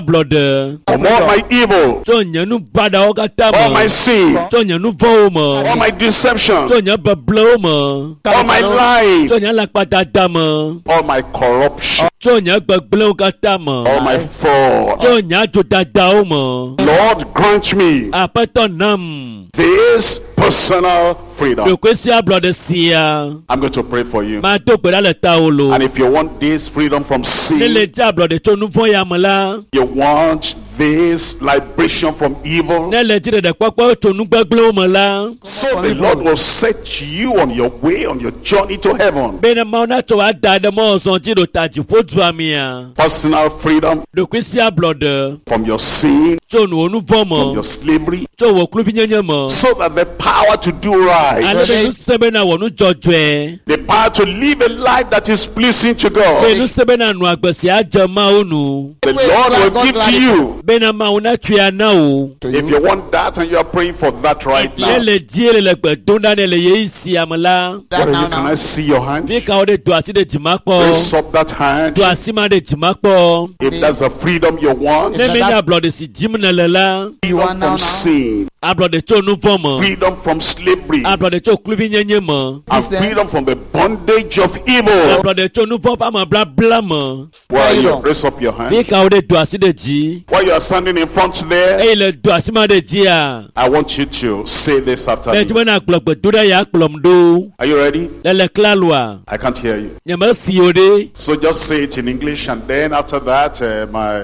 ablɔɖe from all my evil, tso nye nu baɖawo katã all my me, sin, tso nye nu vɔ̃wo me, all my deception, tso nye beblewo me, all my lying, tso nye alakpadada me, all my corruption, tso nye gbegblẽwo katã me, all my fraud. tso nye adzodadawo me. Lord, grant me Aƒetɔ nam this personal freedom. ɖokui si ablɔɖe sia. I'm going to pray for you. Mado gbe ɖa le tawò lo. And if you want this freedom from Ne sin, le di ablɔɖe tso nu vɔ̃ ya me la, you want this liberation from evil, ne le di ɖeɖekpɔkpɔ tso nu gbegblẽwo me la, so the Lord will set you on your way, on your journey to heaven. bena Mawu natsɔ wò ada ɖe mɔzɔ dzi ɖo ta dziƒo dua mea. Personal freedom Ɖokui si ablɔɖe from your sin, tso wò nu vɔ̃ from me, your slavery, tso wò kluvinyenye me, so that the power to do right, ale be ŋusẽ bena wɔ nu dzɔdzɔe, the power to live a life that is pleasing to be God, ŋusẽ bena nɔ agbe si adze Mawu nu, the Lord will give to you. bena Mawu natsɔe ana wò. If you want that and you are praying for that right Ne now, le die le le gbe dom ɖa ne le ɣeyiɣi sia me la, what are you, can I see your hand? fi ka wo ɖe do asi ɖe dzima kpɔ, Raise up that hand. do asi ma ɖe dzima kpɔ. If that's the freedom you want, Ne menye ablɔɖe si dim nèle la, You freedom want now, from now? sin, ablɔɖe tso nu vɔ̃ me, freedom from slavery, ablɔɖe tso kluvinyenye me, and freedom from the bondage of evil. ablɔɖe tso nu vɔ̃ ƒe ameblabla me. Where are you? Raise up your Fi hand. ka wo ɖe do asi ɖe dzi, While you are standing in front there, eye le do asi ma ɖe dzia, I want you to say this after be dzi me. bena gblɔ gbedoɖa ya kplɔm ɖo. Are you ready? Le le klaloa, I can't hear you. nyemesi o ɖe. So just say it in English, and then after that, uh, my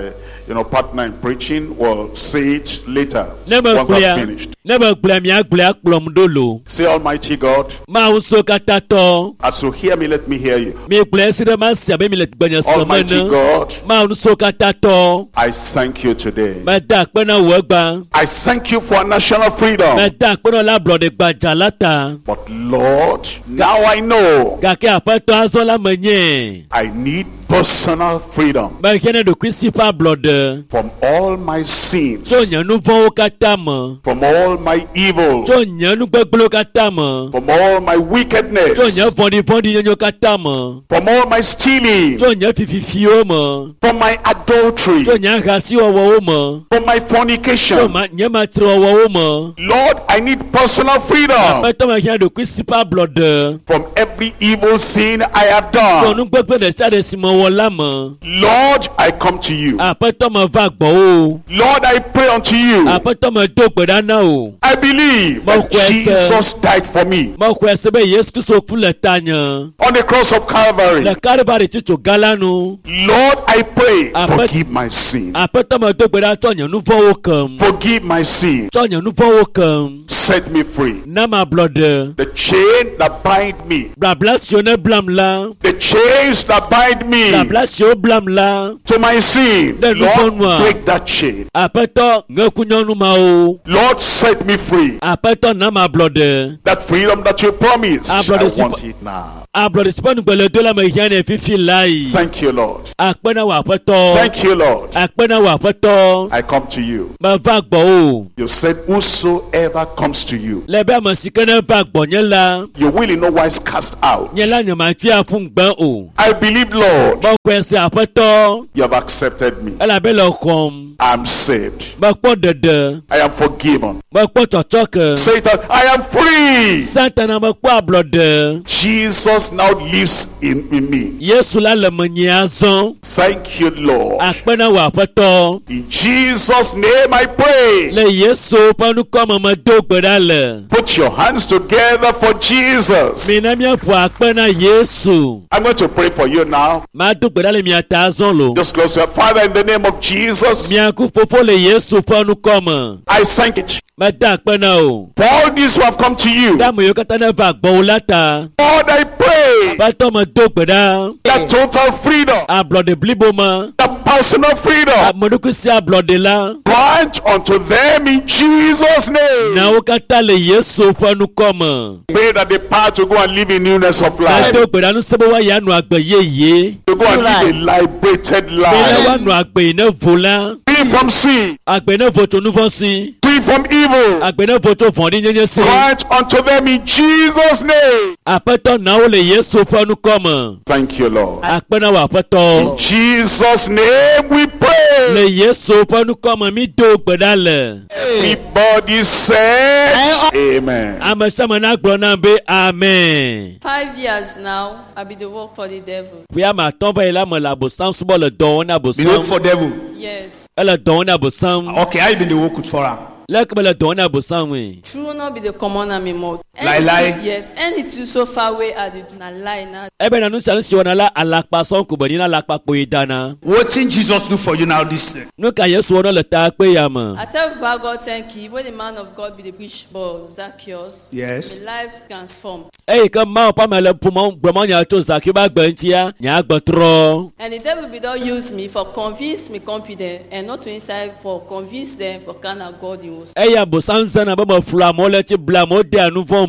you know partner in preaching will say it later Ne me once gblɔa, I've finished. ne me gblɔa mia gblɔa kplɔm ɖo lo. Say, Almighty God, Mawu so katã tɔ, as you hear me, let me hear you. mi gblɔe si ɖe ma si abe mi le gbenye sem Almighty ene. God, Mawu so katã tɔ, I thank you today. meda akpe na wò egbã. I thank you for national freedom. Meda akpe na wò le ablɔɖe gbadza la ta. But Lord, now I know Gake aƒetɔ azɔ la menye. I need personal freedom Mehiã ne ɖokuisi ƒe ablɔɖe from all my sins, tso nye nu vɔ̃wo katã me, from all my evil, Tso nye nugbegblẽwo katã me. from all my Tso wickedness, nye vɔ̃ɖivɔ̃ɖinyenyewo katã me. from all my stealing, Tso nye fififiwo me. from my adultery, Tso nye ahasiwɔwɔwo me. from my Tso fornication. ma nye matrewɔwɔwo me. Lord, I need personal freedom Aƒetɔ mehiã ɖokuisi ƒe ablɔɖe. from every evil sin I have Tso done. nugbegblẽ ɖe sia ɖe si mewɔ la me. Lord, I come to you. Aƒetɔ meva gbɔwò. Lord, I pray unto you. Aƒetɔ medo gbe ɖa na wò. I believe that Mexɔe se. Jesus died for me Mexɔe se be Yesu Kristo ku le tanye. on the cross of Calvary. Le Kalvari tsitso gã la nu. Lord, I pray, Aƒe- forgive my sin. Aƒetɔ medo gbe ɖa tsɔ nye nu vɔ̃wo kem. Forgive my sin. Tsɔ nye nu vɔ̃wo kem. Set me free. Na mablɔɖe. The chain that bind me, Blabla siwo ne blam la. the chains that bind me Blabla siwo blam la. to my sin, Le nu Lord, vɔ̃ nua. break that chain. Aƒetɔ ŋe kunyɔnu mawo. Lord, set me free. Aƒetɔ na mablɔɖe. That freedom that you promised, I Ablɔɖe si want it now. Ablɔɖe si ƒe nugbele la mehiã nɛ fifi lae. Thank you, Lord. Akpe na wò aƒetɔ. Thank you, Lord. Akpe na wò aƒetɔ. I come to you. Meva gbɔwò. You said, Whosoever comes to you, Le be ame si ke ne va gbɔnye la, you will in no wise cast out. nye la nyematui aƒu ŋugbe o. I believe, Lord, Mexɔe se aƒetɔ you have accepted me. elabe le xɔm. I'm saved. Mekpɔ ɖeɖe. I am forgiven. Mekpɔ tsɔtsɔke. Satan, I am free. Satana mekpɔ ablɔɖe. Jesus now lives in, in me. Yesu la le menye azɔ. Thank you, Lord. Akpe na wò aƒetɔ. In Jesus' name I pray. Le Yesu ƒe ŋkɔme medo gbe ɖa le. Put your hands together for Jesus. Mina míaƒo akpe na Yesu. I'm going to pray for you now. Mado gbe ɖa le mia ta azɔ lo. Just close your Father in the name of Jesus. Miaku fofo le Yesu ƒe ŋkɔme. I thank you Meda akpe na wò. for all these who have come to you. Ɖe ame yiwo katã ne va gbɔwò la ta. Lord, I pray Aƒetɔ medo gbe ɖa. that total freedom, Ablɔɖe blibo ma. that personal freedom, Ame ɖokui si ablɔɖe la. grant unto them in Jesus' name. Na wo katã le Yesu ƒe ŋkɔme. Pray that the power to go and live in newness of life, Medo gbe ɖa ŋusẽ be woayi anɔ agbe yeye. to go and live a liberated Bena life, woanɔ agbe yi ne vo la. free from sin, Agbe ne vo tso nu vɔ̃ si. free from evil. Agbe ne vo tso vɔ̃ɖinyenye si. Grant unto them in Jesus' name. Aƒetɔ na wo le Yesu ƒe ŋkɔme. Thank you, Lord. Akpe na wò aƒetɔ. In Jesus' name we pray. Le Yesu ƒe ŋkɔme mi do gbe ɖa le. Everybody said, Amen. Ame sia ame nagblɔ nam be amen. Five years now, I be the work for the devil. Ƒe ame atɔ̃ va yi la me le abosam subɔ le dɔ wɔm na Be work abosam. for devil. Yes. Ele dɔ wɔm na abosam. Okay, I been the work with for am. Leke me le dɔ wɔm na abosam ŋui. True not be the common am in mouth. Lie, lie. Yes. Anything so far away I dey do na lie na. Ebe na nu sia nu si wɔna la alakpa sɔŋ ko be nyi na alakpa kpoe dana. Wetin Jesus do for you now this year? Nu ka Yesu wɔna le ta kpe ya me? I tell Baba God thank you when the man of God be the preach but Zacchaeus. Yes. My life transformed. Eyi ke Mawu ƒe ame le ƒomɔ gblɔmɔ nya tso Zakiwo ƒe agbe ŋutia, nye agbe trɔ. And the devil be don use me for convince me confident and not to inside for convince them for kind of God he was. Eya abosam zãna be meflu amewo le tsi ble amewo dea nu vɔ̃ me.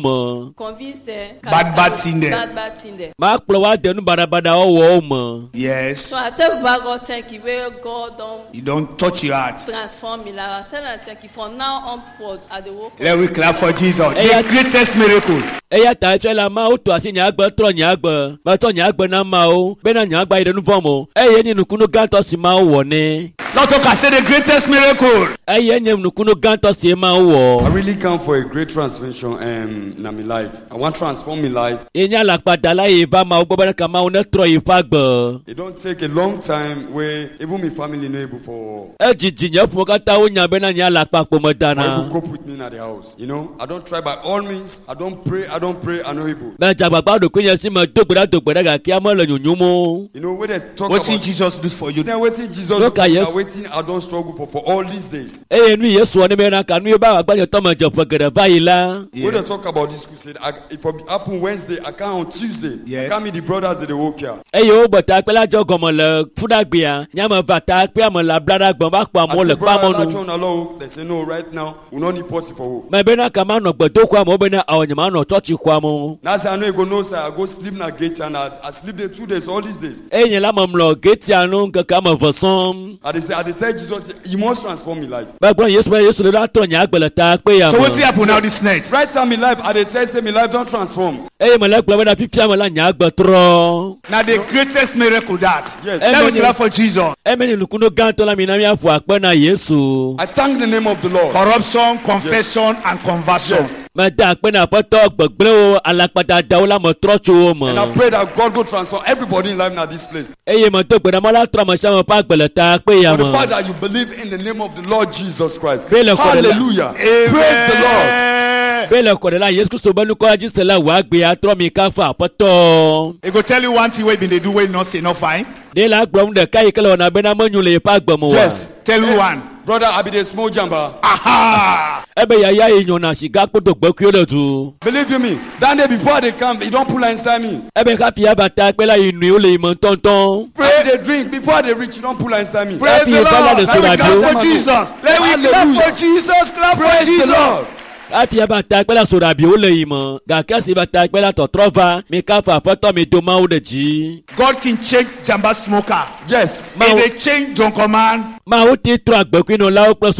Convince them. Bad, bad thing there. Bad bad thing there. Makplɔ wo ade nu baɖabaɖawo wɔwo me. Yes. So I tell Baba God thank you where God don You don't touch your heart. transform me. Like I tell am thank you for now onward I dey work for Let we clap for Jesus. Eya- The greatest miracle. Eya ta etsɔe la Mawu tɔ asi nye agbe trɔ nye agbe. Metɔ nye agbe na Mawu bena nye agbe ayi ɖe nu vɔ̃ me o. Eye nye nukunu gãtɔ si Mawu wɔ nɛ. Lord talk, say the greatest miracle. Eye nye nukunu gãtɔ si Mawu I wɔ. really come for a great transformation um, in my life. I want to transform my life. Ye nye alakpadala yi va Mawu gbɔ bena ka Mawu netrɔ yi ƒe agbe. It don't take a long time where even my family no able for Edzidzi nye ƒome katã wonya bena nye alakpa kpo for able medana. cope with me at the house. You know, I don't try by all means. I don't pray. I don't pray. I no able. Medze agbagba ɖokuinye si me do gbe ɖa do gbe ɖa gake ame le nyonyom o. You know, when they talk Wetin about Jesus do for you? then waiting Jesus, Look at yes. waiting. I don't struggle for for all these days. Eye nu Yesu wɔ ne bena ka nu ye be agbagbadzetɔ me dze ƒe geɖe va yi la. When they talk about this crusade, I, if it happen Wednesday, I come on Tuesday. Yes. I come meet the brothers at the work here. Eye wogbe takpe la dze gɔme le fuɖagbea. Nye ame va takpea me le ablaɖagbe va kpɔ I amewo say, le brother, kpamɔnu. that one alone. They say no. Right now, we no need possible for work. Me bena ka manɔ gbedoxɔa me wo bena awɔ nye manɔ tsɔtsixɔa me o. Now I say I no go no sir. I go sleep na gate and I, I sleep there two days all these days. Eye nye la memlɔ getia nu ŋkeke ame eve sɔŋ. I dey say say, I dey tell Jesus, you must transform me life. Megblɔ Yesu be Yesu le ɖo atrɔ nye agbe le ta kpe ya So me. wetin happen now this night? Right time in life, I dey tell say my life don't transform. Eye mele gblɔ bena fifia me la nye agbe trɔ. Now the greatest miracle that. Yes. Let me Amen. clap for Jesus. Eme nye nukunu gãtɔ la mi na míaƒo akpe na Yesu. I thank the name of the Lord. Corruption, confession, and conversion. Yes. Mede akpe na aƒetɔ gbegblẽwo alakpadadawo la me trɔ tso wo And I me. pray that God go transform everybody in life now this place. Eye medo gbe ɖa Mawu la trɔ ame sia ame ƒe agbe le ta kpe ya For the fact me. that you believe in the name of the Lord Jesus Christ. Be le kɔ ɖe la- Hallelujah. Praise the Lord. Amen. Be le kɔ ɖe la Yesu Kristo be nukɔ dzi se la wò agbe atrɔ mi kafu aƒetɔ. He go tell you one thing wey been dey do wey you not say no fine. Ɖe la gblɔ nu ɖeka yi ke le wɔna bena menyo le yeƒe agbe me oa. Yes. Tell you one. Brother, I be the small jumper. Aha! Ebe yaya yi nyɔna siga kpoto gbekuiwo ɖe du. Believe you me, that day before they come, he don't pull her inside me. Ebe hafi ava ta kpe la yi nui wo le yi me ŋutɔŋutɔ. I be dey drink before they reach, he don't pull her inside me. Praise Happy the Lord. Father, Let we clap for Hallelujah. Jesus. Let we clap for Jesus. Clap for Praise the Jesus. Lord. Hafi ava ta kpe la soɖabiwo le yi me gake esi va ta kpe la tɔtrɔ va mi kafu aƒetɔ mi do Mawu ɖe dzi. God can change Jamba smoker. Yes. He Mawu dey change Jonkoman. Mawu ti trɔ agbekuinɔlawo kple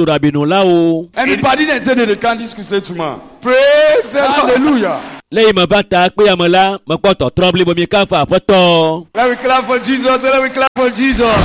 soɖabinɔlawo. Anybody that say that they can't discuss it to man. Praise the Lord. Hallelujah. Le yi me va ta kpe ya me la mekpɔ tɔtrɔ blibo mi kafu aƒetɔ. Let we clap for Jesus. Let we clap for Jesus.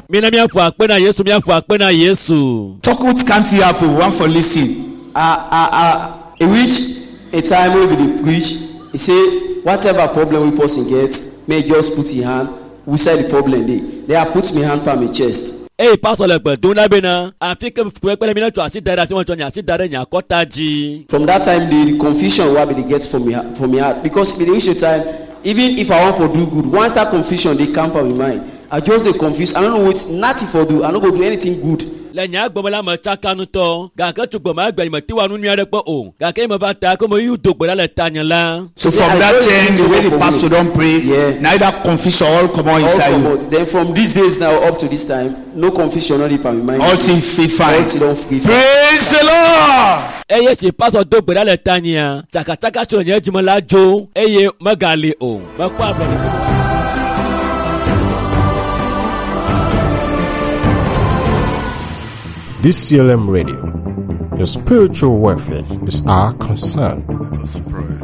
Mina míaƒo akpe na Yesu míaƒo akpe na Yesu. Talk with can't happen. One for listen. I I I e reach a time wey we dey preach e say whatever problem wey person get make e just put e hand inside the problem dey then I put my hand pa my chest Eye pastor le gbe dom na bena afi ke fukpekpe le mi ne tsɔ asi da ɖe afi ma tsɔ nye asi da ɖe nye akɔta dzi. from that time the confusion wey I bin dey get for me for me heart because e bin dey reach a time even if I wan for do good once that confusion dey camp for my mind I just dey confuse I no know wetin nothing for do I no go do anything good Le nye agbe me la me tsaka ŋutɔ gake tso gbe ma gbe nye mete wa nu nyui aɖe kpɔ o gake ye me va ta ko me yu do gbe ɖa le tanye la. So Yeah, from I that just time, the give way up the for pastor me. don't pray, Yeah. now that confusion all come on all inside you. comot then from these days now up to this time no confusion no dey pa my mind All things feel fine. all thing don free fine. Praise the Lord. Eye si pastor do gbe ɖa le tanyea tsakatsaka si le nye dzime la dzo eye megali o mekpɔ ablɔɖe. D C L M Radio, your spiritual welfare is our concern.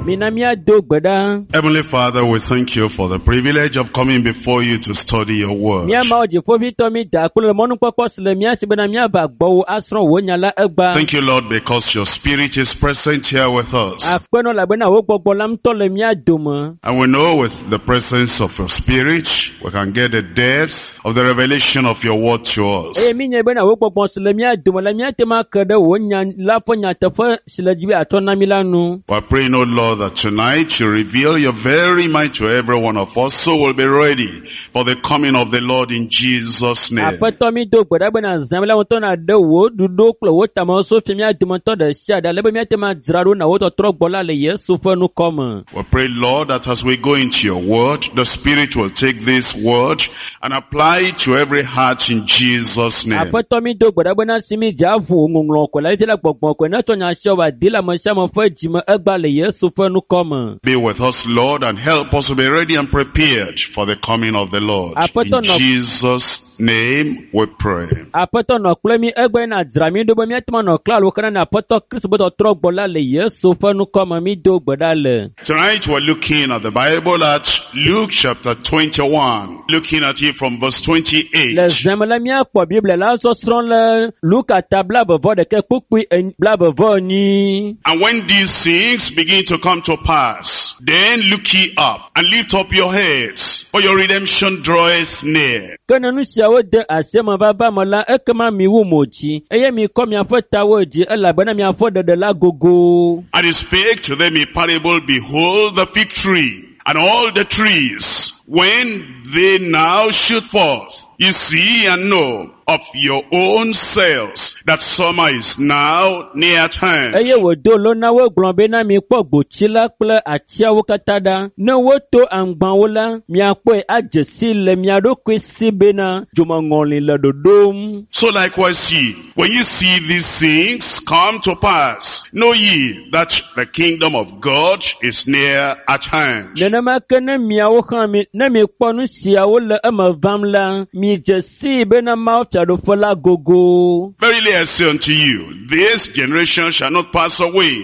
Mina míado gbe ɖa. Heavenly Father, we thank you for the privilege of coming before you to study your word. Mía Mawu dziƒoʋĩtɔ mi da akpe le mɔnukpɔkpɔ si le mía si bena míava gbɔwò asrɔ̃ wò nya la egba. Thank you, Lord, because your spirit is present here with us. Akpenɔ elabena wò gbɔgbɔ la ŋutɔ le mía dome. And we know with the presence of your spirit, we can get the depths of the revelation of your word to us. Eye mi nye bena wò gbɔgbɔ si le mía dome la míate ŋu ake ɖe wò nya la ƒe nyateƒe si le dzi be atsɔ na mí la nu. We are praying, O Lord, that tonight you reveal your very mind to every one of us, so we'll be ready for the coming of the Lord in Jesus' name. Aƒetɔ mi do gbe ɖa bena zã la ŋutɔ na ɖe wò ɖoɖo kple wò tamewo fia mía dometɔ ɖe sia ɖe ale be míate ŋu adzra ɖo na wò tɔtrɔ gbɔ la le Yesu ƒe nukɔme. We pray, Lord, that as we go into your word, the Spirit will take this word and apply it to every heart in Jesus' name. Aƒetɔ mi do gbe ɖa bena si mi dze aʋu ŋɔŋlɔ kɔe la fifia la gbɔgbɔ kɔe ne tsɔ nya sia wòadi le ame sia ame ƒe dzime egba le Yesu ƒe nukɔme. Be with us, Lord, and help us to be ready and prepared for the coming of the Lord. Aƒetɔ In nɔ- Jesus' name we pray. Aƒetɔ nɔ kple mi egbe na dzra mi ɖo be míate ŋu anɔ klalo kena na Aƒetɔ Kristo be tɔtrɔ gbɔ la le Yesu ƒe nukɔme mi do gbe ɖa le. Tonight we're looking at the Bible at Luke chapter twenty-one, looking at it from verse Le twenty-eight. zãme la míakpɔ Biblia la sɔsrɔ̃ le Luka ta blaeve vɔ ɖeka kpukpui en- blaeve vɔ enyi. And when these things begin to come to pass, then look ye up and lift up your heads, for your redemption draweth near. Ke ne nu siawo de asi eme vava me la, ekema miwu mo dzi eye mikɔ miaƒe tawo dzi elabena miaƒe ɖeɖe la gogo. And he spake to them a parable, behold the fig tree and all the trees, when they now shoot forth, you see and know of your own selves that summer is now near at hand. Eye wòdo lo na wo gblɔ bena mikpɔ gbotsi la kple atiawo katã ɖa. Ne woto aŋgbawo la, miakpɔe adze si le mia ɖokui si bena dzomeŋɔli le ɖoɖom. So likewise ye, when you see these things come to pass, know ye that the kingdom of God is near at hand. Nenema ke ne miawo hã mi Ne mikpɔ nu siawo le eme vam la, midze sii bena Mawu fiaɖuƒe la gogo. Verily I say unto you, this generation shall not pass away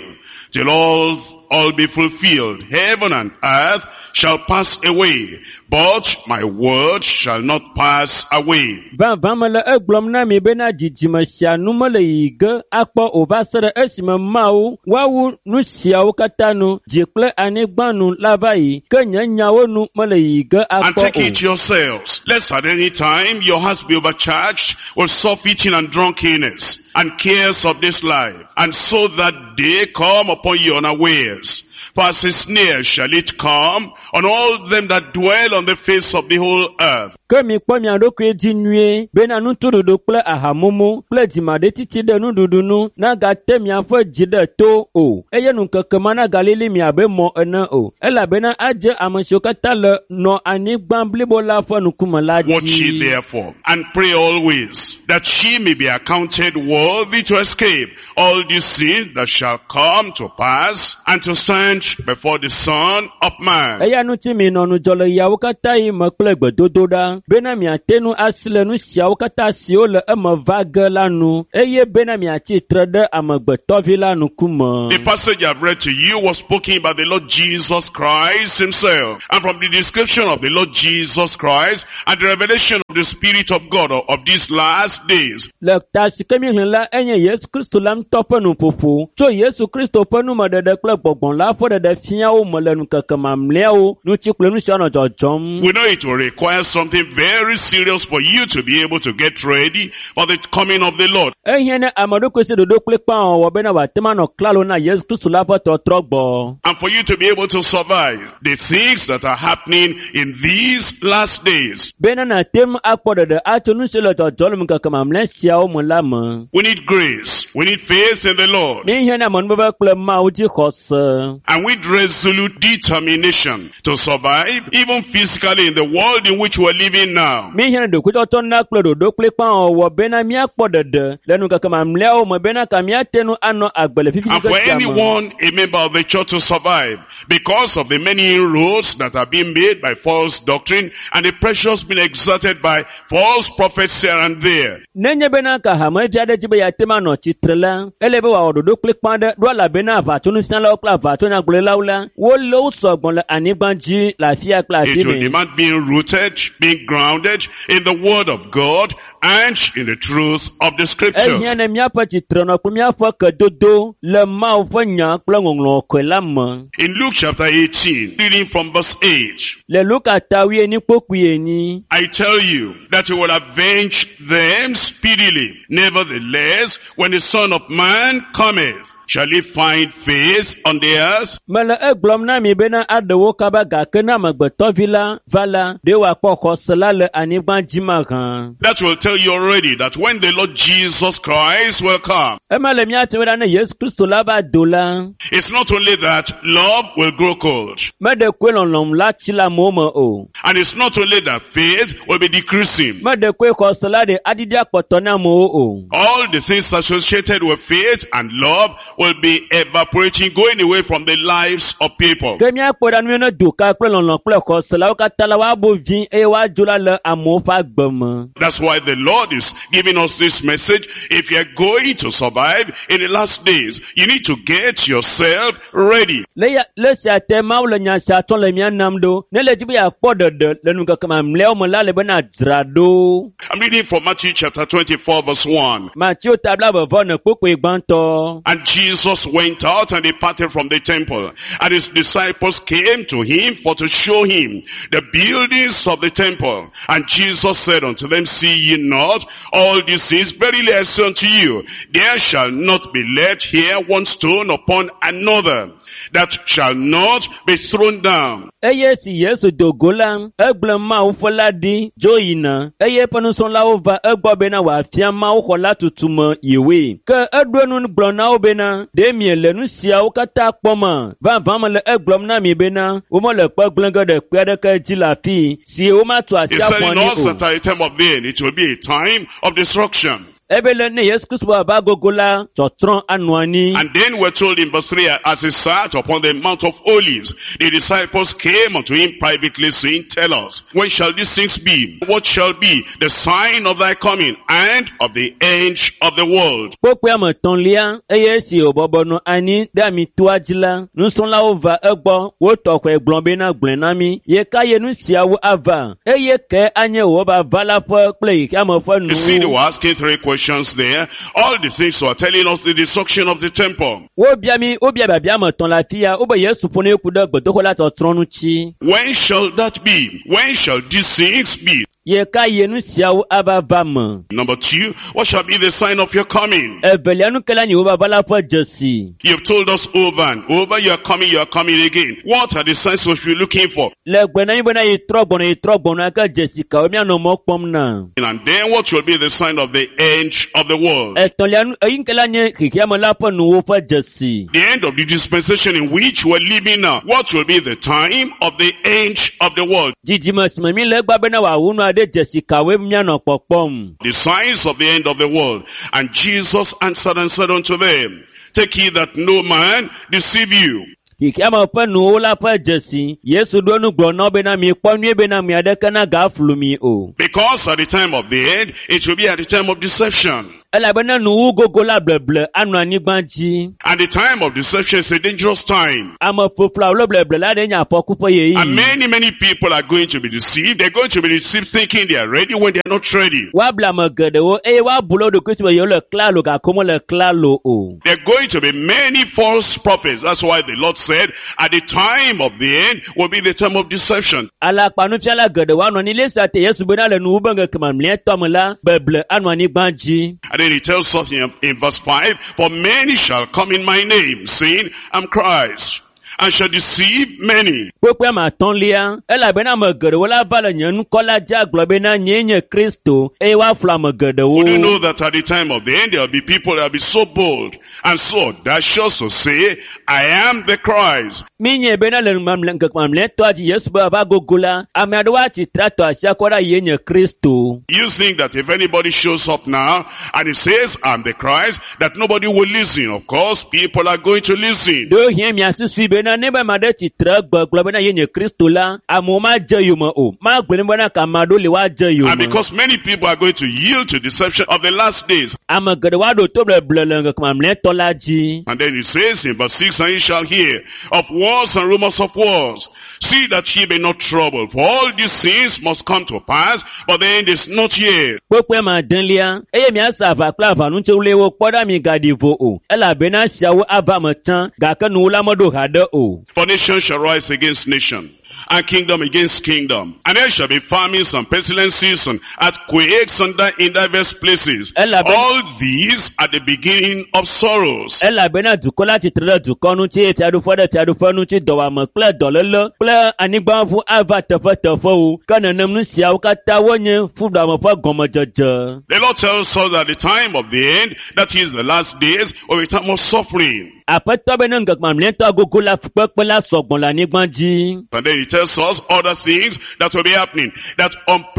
till all, all be fulfilled. Heaven and earth shall pass away, but my word shall not pass away. Vavã mele egblɔm na mi bena dzidzime sia nu mele yiyi ge akpɔ o va se ɖe esime Mawu woawu nu siawo katã nu, dzi kple anyigba nu la va yi, ke nye nyawo nu mele yiyi ge And akpɔ take o. it yourselves, lest at any time your hearts be overcharged with surfeiting and drunkenness and cares of this life, and so that day come upon you unawares. For as a snare shall it come on all them that dwell on the face of the whole earth. Ke mikpɔ mia ɖokui dzi nyuie bena nutuɖuɖu kple ahamumu kple dzimaɖitsitsi ɖe nuɖuɖu nu nagate miaƒe dzi ɖe to o eye ŋkeke ma nagalili mi abe mɔ ene o elabena adze ame siwo katã le nɔ anyigba blibo la ƒe ŋkume la Watch ye dzi. therefore, and pray always, that she may be accounted worthy to escape all these things that shall come to pass, and to stand before the Son of Man. Eya ŋuti minɔ ŋudzɔ le yawo katã yi me kple gbedodoɖa bena miate ŋu asi le nu siawo katã siwo le eme va ge la nu eye bena miatsi tre ɖe amegbetɔvi la ŋkume. The passage I've read to you was spoken by the Lord Jesus Christ himself. And from the description of the Lord Jesus Christ and the revelation of the Spirit of God of, of these last days, Le ta si ke míexlẽ la enye Yesu Kristo la ŋutɔ ƒe nuƒoƒo tso Yesu Kristo ƒe numeɖeɖe kple gbɔgbɔ la ƒe ɖeɖe fia wo me le ŋkeke mamlɛawo ŋuti kple nu siwo nɔ dzɔdzɔm. we know it will require something very serious for you to be able to get ready for the coming of the Lord. Ehiã ne ame ɖokui si ɖoɖo kplikpa wɔwɔ bena wòate ŋu anɔ klalo na Yesu Kristo la ƒe tɔtrɔ gbɔ. And for you to be able to survive the things that are happening in these last days. Bena nàte ŋu akpɔ ɖeɖe atso nu siwo le dzɔdzɔm le ŋkeke mamlɛ siawo me la me. We need grace. We need faith in the Lord. Míehiã na amenuveve kple Mawu dzi xɔse. And with resolute determination to survive, even physically in the world in which we're living now. Míehiã na ɖokuitsɔtsɔ na kple ɖoɖo kplikpa wɔwɔ bena míakpɔ ɖeɖe le ŋkeke mamlɛawo me bena ka míate ŋu anɔ agbe le fifi And for ŋkeke sia me. anyone, a member of the church to survive, because of the many inroads that are being made by false doctrine and the pressures being exerted by false prophets here and there. Nenye bena ka hamevi aɖe dzi be yeate ŋu anɔ tsitre la, ele be wòawɔ ɖoɖo kplikpa aɖe ɖo elabena aʋatsonufialawo kple aʋatsonyagblɔɖilawo la, wole wo sɔgbɔ le anyigba dzi le afi ya kple afi It will mɛ. demand being rooted, being grounded in the word of God and in the truth of the scriptures. Ehiã ne míaƒe tsitrenɔ kple míaƒe kedodo le Mawu ƒe nya kple ŋɔŋlɔ kɔe la me. In Luke chapter eighteen, reading from verse eight, Le Luka ta wuienyi kpokpui enyi. I tell you that he will avenge them speedily. Nevertheless, when the Son of Man cometh, shall he find faith on the earth? Mele egblɔm na mi bena aɖe wo kaba gake ne amegbetɔvi la va la, ɖe wòakpɔ xɔse la le anyigba dzi mahã. That will tell you already that when the Lord Jesus Christ will come, Ema le míate ŋu ɖa ne Yesu Kristo la va do la, it's not only that love will grow cold, meɖe koe lɔlɔ̃m la tsi le amewo me o. and it's not only that faith will be decreasing. Meɖe koe xɔse la ɖe aɖiɖi akpɔtɔ na amewo o. All the things associated with faith and love will be evaporating, going away from the lives of people. Ke míakpɔ ɖa nu ne doka kple lɔlɔ̃ kple xɔse la wo katã la woabo vi eye woadzo la le amewo ƒe agbe me. That's why the Lord is giving us this message. If you're going to survive in the last days, you need to get yourself ready. Le ya le sia te Mawu le nya sia tsɔm le mía nam ɖo. Ne le dzi be yeakpɔ ɖeɖe le ŋkeke mamlɛawo me la le bena dzra ɖo. I'm reading from Matthew chapter twenty-four verse one. Mateo ta blaeve ne kpokpoe gbãtɔ. And Jesus went out and departed from the temple. And his disciples came to him for to show him the buildings of the temple. And Jesus said unto them, See ye not all these things? Verily I say unto you, there shall not be left here one stone upon another that shall not be thrown down. Eye si Yesu do go la, egblẽ Mawu ƒe la ɖi dzo yina eye eƒe nusrɔ̃lawo va egbɔ bena wòafia Mawu xɔ la tutu me yewoe. Ke eɖo enu gblɔ na wo bena, ɖe miele nu siawo katã kpɔma? Vavã mele egblɔm na mi bena, womele kpe gblẽ ge ɖe kpe aɖeke dzi le afii si womatu asi He's aƒu telling anyi us o. that at the time of the end, it will be a time of destruction. Ebe le ne Yesu Kristu ava gogo la tsɔtrɔ anɔ anyi. And then we're told in verse three, as he sat upon the Mount of Olives, the disciples came unto him privately, saying, Tell us, when shall these things be? What shall be the sign of thy coming and of the end of the world? Kpokpoe ame etɔ̃lia eye esi wòbɔbɔ nɔ anyi ɖe amitoa dzi la, nusrɔ̃lawo va egbɔ, wotɔ xɔe gblɔ bena gblɔe na mí, ye ka ye nu siawo ava, eye ke anye wò vava la ƒe kple xexeame ƒe You see, they nuwuwu. were asking three questions there. All the things were telling us the destruction of the temple. Wobia mí, wobia biabia ame etɔ̃ le afia, wobe Yesu ƒo ne ku ɖe gbedoxɔ la tsɔtrɔ ŋuti. When shall that be? When shall these things be? Ye ka ye nu siawo ava va me? Number two, what shall be the sign of your coming? Evelia nu ke la nye wò vava la ƒe dzesi. You've told us over and over, you are coming, you are coming again. What are the signs we should be looking for? Le gbe na mí bena yi trɔ gbɔna yi trɔ gbɔna ke dzesi kawo míanɔ mɔ kpɔm na? And then what will be the sign of the end of the world? Etɔ̃lia nu eyi ke la nye xexeame la ƒe nuwo ƒe dzesi. The end of the dispensation in which we're living now. What will be the time of the end of the world? Dzidzime si me mí le egbea bena wòawu nua ɖe dzesi kawoe míanɔ kpɔkpɔm. The signs of the end of the world. And Jesus answered and said unto them, Take heed that no man deceive you. Xexeame ƒe nuwo la ƒe dzesi. Yesu ɖo nu gblɔ na wo bena mikpɔ nyuie bena ame aɖeke nagaflu mi o. Because at the time of the end, it will be at the time of deception. Elabena nuwu gogo la bleble anɔ anyigba dzi. And the time of deception is a dangerous time. Ame ƒoƒlawo le bleble la ɖe nye afɔku ƒe And ɣeyiɣi. many, many people are going to be deceived. They're going to be deceived thinking they are ready when they are not ready. Woable ame geɖewo eye woabu le wo ɖokui si be yewo le klalo gake womele klalo o. There are going to be many false prophets. That's why the Lord said, at the time of the end will be the time of deception. Alakpanufiala geɖewo anɔ anyi le esi te Yesu bena le nuwu be ŋkeke mamlɛtɔ me la, beble anɔ anyigba dzi. And then he tells us in, in verse five, For many shall come in my name, saying, I'm Christ, and shall deceive many. Kpekpe ame atɔ̃lia, elabena ame geɖewo la va le nye ŋkɔ la dzi agblɔ bena nyee nye Kristo eye woaflu ame geɖewo. Would you know that at the time of the end there will be people that will be so bold and so audacious to say, I am the Christ. Míenyae bena le mamlɛ ŋkeke mamlɛtɔa dzi Yesu be ava gogo la, ame aɖewo atsi tre atɔ asi akɔ ɖe yee nye Kristo. You think that if anybody shows up now and he says, I'm the Christ, that nobody will listen. Of course, people are going to listen. Ɖewohĩ miasusui bena ne be ame aɖe tsi tre gbe gblɔ bena yee nye Kristo la, amewo madze yome o. Magblɔe ne bena ke ame aɖewo li woadze And yome. because many people are going to yield to deception of the last days. Ame geɖewo aɖo to bleble le ŋkeke mamlɛtɔ la dzi. And then he says in verse six, And ye shall hear of wars and rumors of wars. See that ye be not troubled, for all these things must come to pass, but the end is not yet. Kpekpe ma adelia, eye miase aʋa kple aʋanutsiwliwo kpɔ ɖa migaɖi vo o, elabena esiawo ava me tsã, gake nuwo la meɖo haɖe o. For nation shall rise against nation, and kingdom against kingdom. And there shall be famines and pestilences and earthquakes and di- in diverse places. Elabe- All these are the beginning of sorrows. Elabena dukɔ la tsitre ɖe dukɔ ŋuti, eye fiaɖuƒe ɖe fiaɖuƒe ŋuti, dɔwɔame kple dɔléle kple anyigbaʋu ava teƒeteƒewo. Ke nenem nu siawo katã wonye fuɖuame ƒe gɔmedzedze. The Lord tells us that the time of the end, that is the last days, will be time of suffering. Aƒetɔ be ne ŋkeke mamlɛtɔ gogo la fukpekpe la sɔgbɔ le anyigba dzi. And then he tells us other things that will be happening, that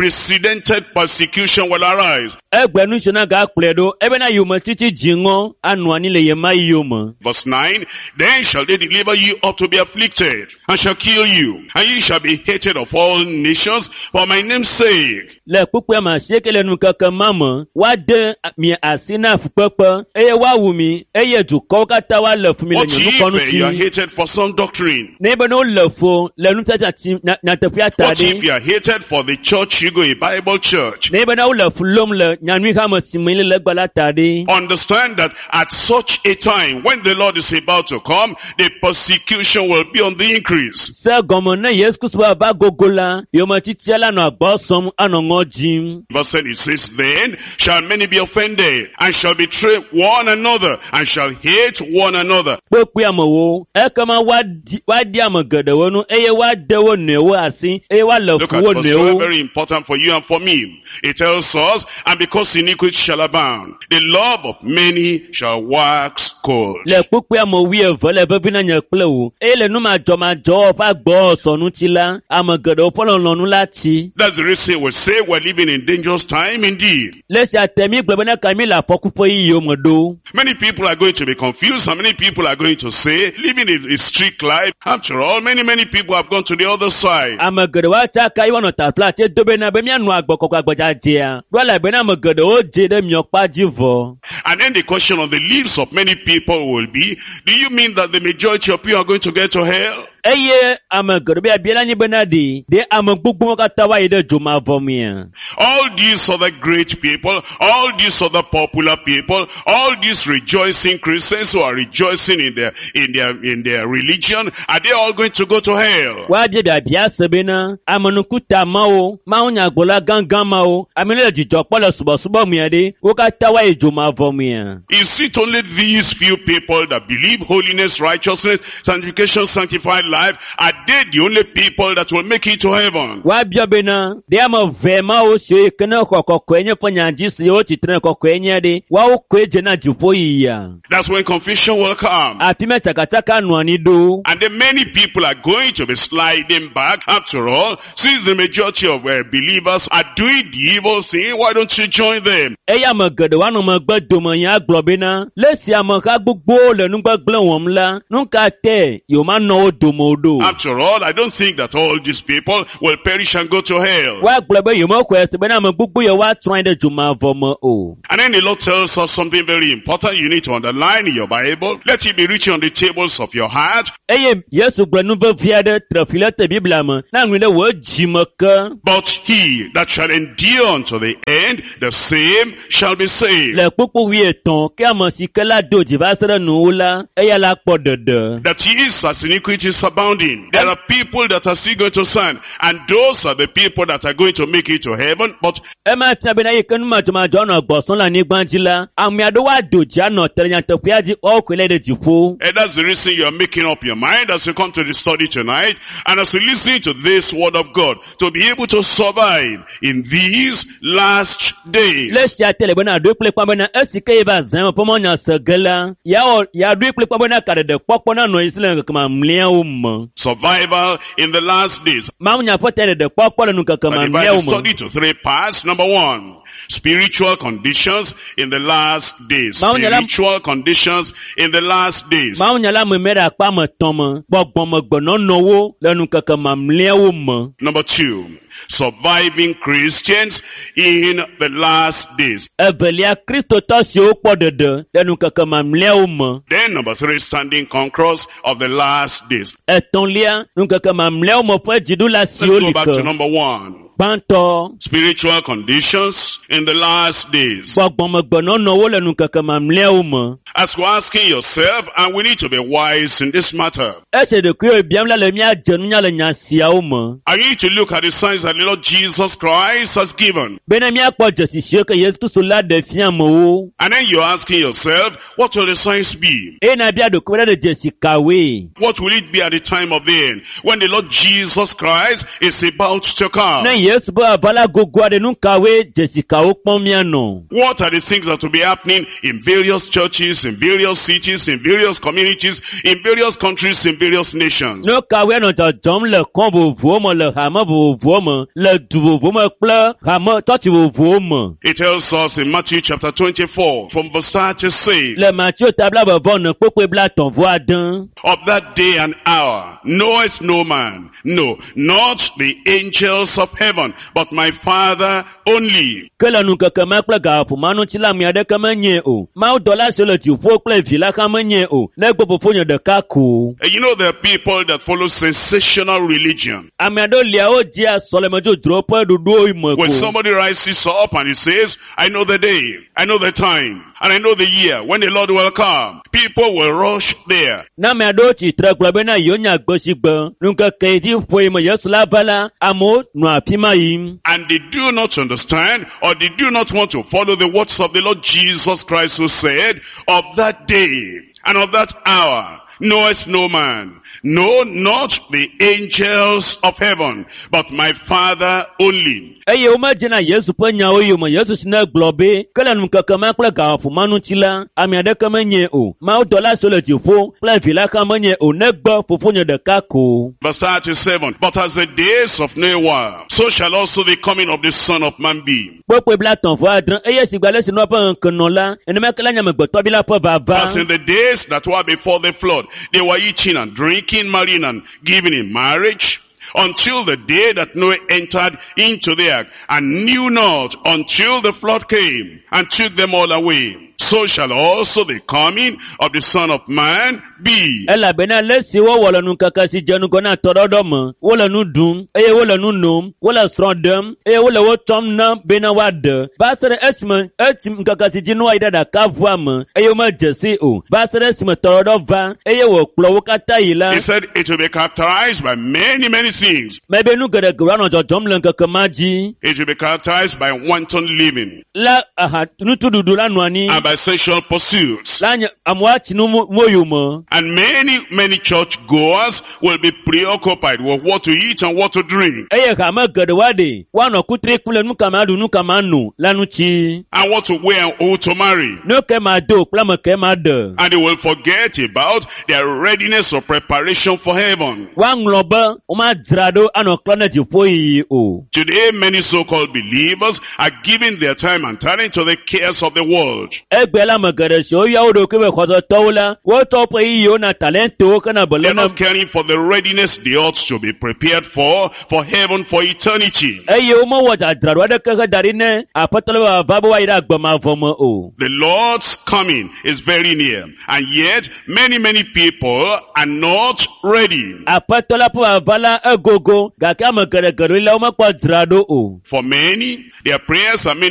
unprecedented persecution will arise. Egbe nu si na gakplɔe ɖo, ebena yometiti dziŋɔ anɔ anyi le ɣemaɣi yome. Verse nine, Then shall they deliver you up to be afflicted, and shall kill you, and ye shall be hated of all nations for my name's sake. Le kpukpui ame asieke le nukeke ma me, woade mi asi na fukpekpe eye woawu mi eye dukɔwo katã woalé fu mi le What nye if ŋkɔ eh, you are ŋuti. hated for some doctrine? Ne be ne wole fu le nutsatsa nya- nyateƒea ta What if ɖe. you are hated for the church you go, a Bible church? Ne be ne wole fu lom le nyanyui hame si me le egbe la ta ɖe. Understand that at such a time, when the Lord is about to come, the persecution will be on the increase. Se gɔme ne Yesu Kristo ava gogo la, yometitia la nɔ agbɔ sɔm anɔ ŋɔ dzim. Verse ten, it says, Then shall many be offended, and shall betray one another, and shall hate one another. Kpekpe amewo, ekema woadi woadi ame geɖewo nu eye woade wo nɔewo asi eye woalé Look fu at wo verse twelve, nɔewo. very important for you and for me. It tells us, and because because iniquity shall abound, the love of many shall wax cold. Le kpukpui ame wuieve le vevi na nye kple wò eye le numadzɔmadzɔwɔ ƒe agbɔsɔ ŋuti la ame geɖewo ƒe lɔlɔ̃nu la tsi. That's the reason we say we're living in dangerous time indeed. Le esia te mi gblɔ bena ka mi le afɔku ƒe yiyiwo me ɖo. Many people are going to be confused and many people are going to say, living a, a strict life. After all, many, many people have gone to the other side. Ame geɖewo atsaka yi woanɔ taflatse do bena be míanɔ agbɔkɔkɔ agbedzadzea ɖo elabena ame geɖewo dze ɖe miɔkpa dzi vɔ. And then the question on the lips of many people will be, do you mean that the majority of you are going to get to hell? Eye ame geɖewo be abia la nyi bena ɖe ɖe ame gbogbowo katã woayi ɖe dzomavɔ mea. All these other great people, all these other popular people, all these rejoicing Christians who are rejoicing in their, in their, in their religion, are they all going to go to hell? Woabia biabia se bena amenukuta mawo, mawunyagblɔla gãgã mawo, ame yiwo le dzidzɔ kpɔm le subɔsubɔ mea ɖe, wo katã woayi dzomavɔ mea. Is it only these few people that believe holiness, righteousness, sanctification, sanctified life? Are they the only people that will make it to heaven? Woabia bena ɖe ame eve mawo siwo yi ke ne xɔ kɔkɔe nye ƒe nya dzi si wotsitre kɔkɔe nye ɖe, woawo koe dze na dziƒo yiyia. That's when confusion will come. Afi ma tsakatsaka nɔ anyi ɖo. And then many people are going to be sliding back. After all, since the majority of uh, believers are doing the evil thing, why don't you join them? Eye ame geɖewo anɔ megbe dome nya agblɔ bena le esi ameha gbogbowo le nugbegblẽ wɔm la, nu ka te yewomanɔ wo dome o ɖo? After all, I don't think that all these people will perish and go to hell. Woagblɔ be yewomexɔe se bena ame gbogbo yewoatrɔ anyi ɖe dzomavɔ me o. And then the Lord tells us something very important you need to underline in your Bible. Let it be written on the tables of your heart. Eye Yesu gblɔ nu vevi aɖe tre fi le te Biblia me na ŋui ɖe wò dzime ke. But he that shall endure unto the end, the same shall be saved. Le kpukpu wuietɔ̃ ke ame si ke la do dzi va se ɖe nuwuwu la, eya la kpɔ ɖeɖe. That is as iniquity is abounding. There are people that are still going to stand, and those are the people that are going to make it to heaven. But Ema fia bena yi ke numadzɔmadzɔ nɔ gbɔsɔm le anyigba dzi la, ame aɖewo ado dzi anɔ te ɖe nyateƒea dzi woawo koe le ɖe dziƒo. And that's the reason you are making up your mind as you come to the study tonight and as you listen to this word of God to be able to survive in these last days. Le esia te le bena ɖoe kple kpa bena esi ke ye va zã me ƒe mɔnya se ge la, yeawɔ yeaɖoe kple kpa bena kaɖeɖe kpɔkpɔ nanɔ anyi si le ŋkeke mamlɛawo me. Survival in the last days. Mawunya ƒe ta ɖeɖe kpɔkpɔ le ŋkeke I divide the mamlɛawo me. study to three parts. Number one, spiritual conditions in the last days. Mawunya la- Spiritual conditions in the last days. Mawunya la me me ɖe akpa ame etɔ̃ me. Gbɔgbɔmegbenɔnɔwo le ŋkeke mamlɛawo me. Number two, surviving Christians in the last days. Evelia, Kristotɔ siwo kpɔ ɖeɖe le ŋkeke mamlɛawo me. Then number three, standing conquerors of the last days. Etɔ̃lia, ŋkeke mamlɛawo me ƒe dziɖula Let's siwo go li back to ke. number one. Gbãtɔ, Spiritual conditions in the last days. gbɔgbɔmegbenɔnɔwo le ŋkeke mamlɛawo me. As we're asking yourself, and we need to be wise in this matter. Esi ɖokuiwò biam la le míadze nunya le nya siawo me. I need to look at the signs that the Lord Jesus Christ has given. Bena míakpɔ dzesi siwo ke Yesu Kristo la ɖe fia amewo. And then you're asking yourself, what will the signs be? Eye nàbia ɖokuiwò ɖe dzesi kawoe? What will it be at the time of the end? When the Lord Jesus Christ is about to come. Ne Yesu be aʋala gogo aɖe nu kawoe dzesi kawo kpɔm míanɔ? What are the things that will be happening in various churches, in various cities, in various communities, in various countries, in various nations? Nu kawoe anɔ dzɔdzɔm le kɔn vovovowo me, le hame vovovowo me, le du vovovowo me kple hame tsɔtsi vovovowo me? It tells us in Matthew chapter twenty-four from verse thirty-six. Le Mateo ta blaeve vɔ ene kpukpui blaetɔ̃ vɔ ade. Of that day and hour knoweth no man, no, not the angels of heaven, but my Father only. Ke le ŋkeke ma kple gaƒoƒo ma ŋuti la, ame aɖeke menyae o. Mawudɔla siwo le dziƒo kple vi la hã menyae o. Negbe fofonye ɖeka ko. And you know there are people that follow sensational religion. Ame aɖewo lia wodzia sɔlemedzodzro ƒe ɖoɖowo me When ko. somebody rises up and he says, I know the day, I know the time, and I know the year when the Lord will come, people will rush there. Ne ame aɖewo tsi tre gblɔ bena yewonya gbe si gbe ŋkeke yi dzi ƒoe me Yesu la va la, amewo nɔa afi ma yim. And they do not understand or they do not want to follow the words of the Lord Jesus Christ who said, of that day and of that hour knoweth no man, No, not the angels of heaven, but my Father only. Eye womedzena Yesu ƒe nyawo yome. Yesu si ne gblɔ be ke le ŋkeke ma kple gaƒoƒo ma ŋuti la, ame aɖeke menye o. Mawudɔla siwo le dziƒo kple vi la hã menye o negbe fofonye ɖeka ko. Verse thirty-seven. But as the days of Noah, so shall also the coming of the Son of Man be. Kpokpoe blaetɔ̃ vɔ adre eye si gbe ale si Noa ƒe ŋkeke nɔ la, nenema ke la nye amegbetɔvi la ƒe vava. As in the days that were before the flood, they were eating and drinking, marrying and giving in marriage, until the day that Noah entered into the ark, and knew not until the flood came and took them all away. So shall also the coming of the Son of Man be. Elabena le si wowɔ le ŋkeke si dze ŋgɔ na tɔɖɔɖɔ me, wole nu ɖum eye wole nu nom, wole srɔ̃ ɖem eye wole wo tsɔm na bena woaɖe. Va se ɖe esime esi ŋkeke si dzi Noa yi ɖe ɖakaʋua me eye womedze si o. Va se ɖe esime tɔɖɔɖɔ va eye wòkplɔ wo katã yi la. He said it will be characterized by many, many things. Mebe nu geɖe anɔ dzɔdzɔm le ŋkeke ma dzi. It will be characterized by wanton living La aha nutuɖuɖu la nɔ anyi. and by sexual pursuits. La nye amewo atsi nu mo yome. And many, many church goers will be preoccupied with what to eat and what to drink Eye hame geɖe woaɖe woanɔ kutri kum le nu ka ma ɖu nu ka ma no la ŋuti. and what to wear and who to marry. Nu ke ma do kple ame ke ma ɖe. And they will forget about their readiness or preparation for heaven. Woaŋlɔ be womadzra ɖo anɔ klɔ ne dziƒo yiyi o. Today, many so-called believers are giving their time and talent to the cares of the world. Egbe la ame geɖe siwo yɔ wo ɖokui be xɔsetɔwo la, wotɔ woƒe ɣeyiɣiwo na talentowo hena They're beléle not caring for the readiness they ought to be prepared for, for heaven, for eternity. Eye womewɔ dzadzraɖo aɖeke heda ɖi ne aƒetɔ la be wòava be woayi ɖe agbe mavɔ me o. The Lord's coming is very near. And yet, many, many people are not ready. Aƒetɔ la ƒe vava la egogo gake ame geɖe geɖewo la womekpɔ dzra ɖo o. For many, their prayers are mainly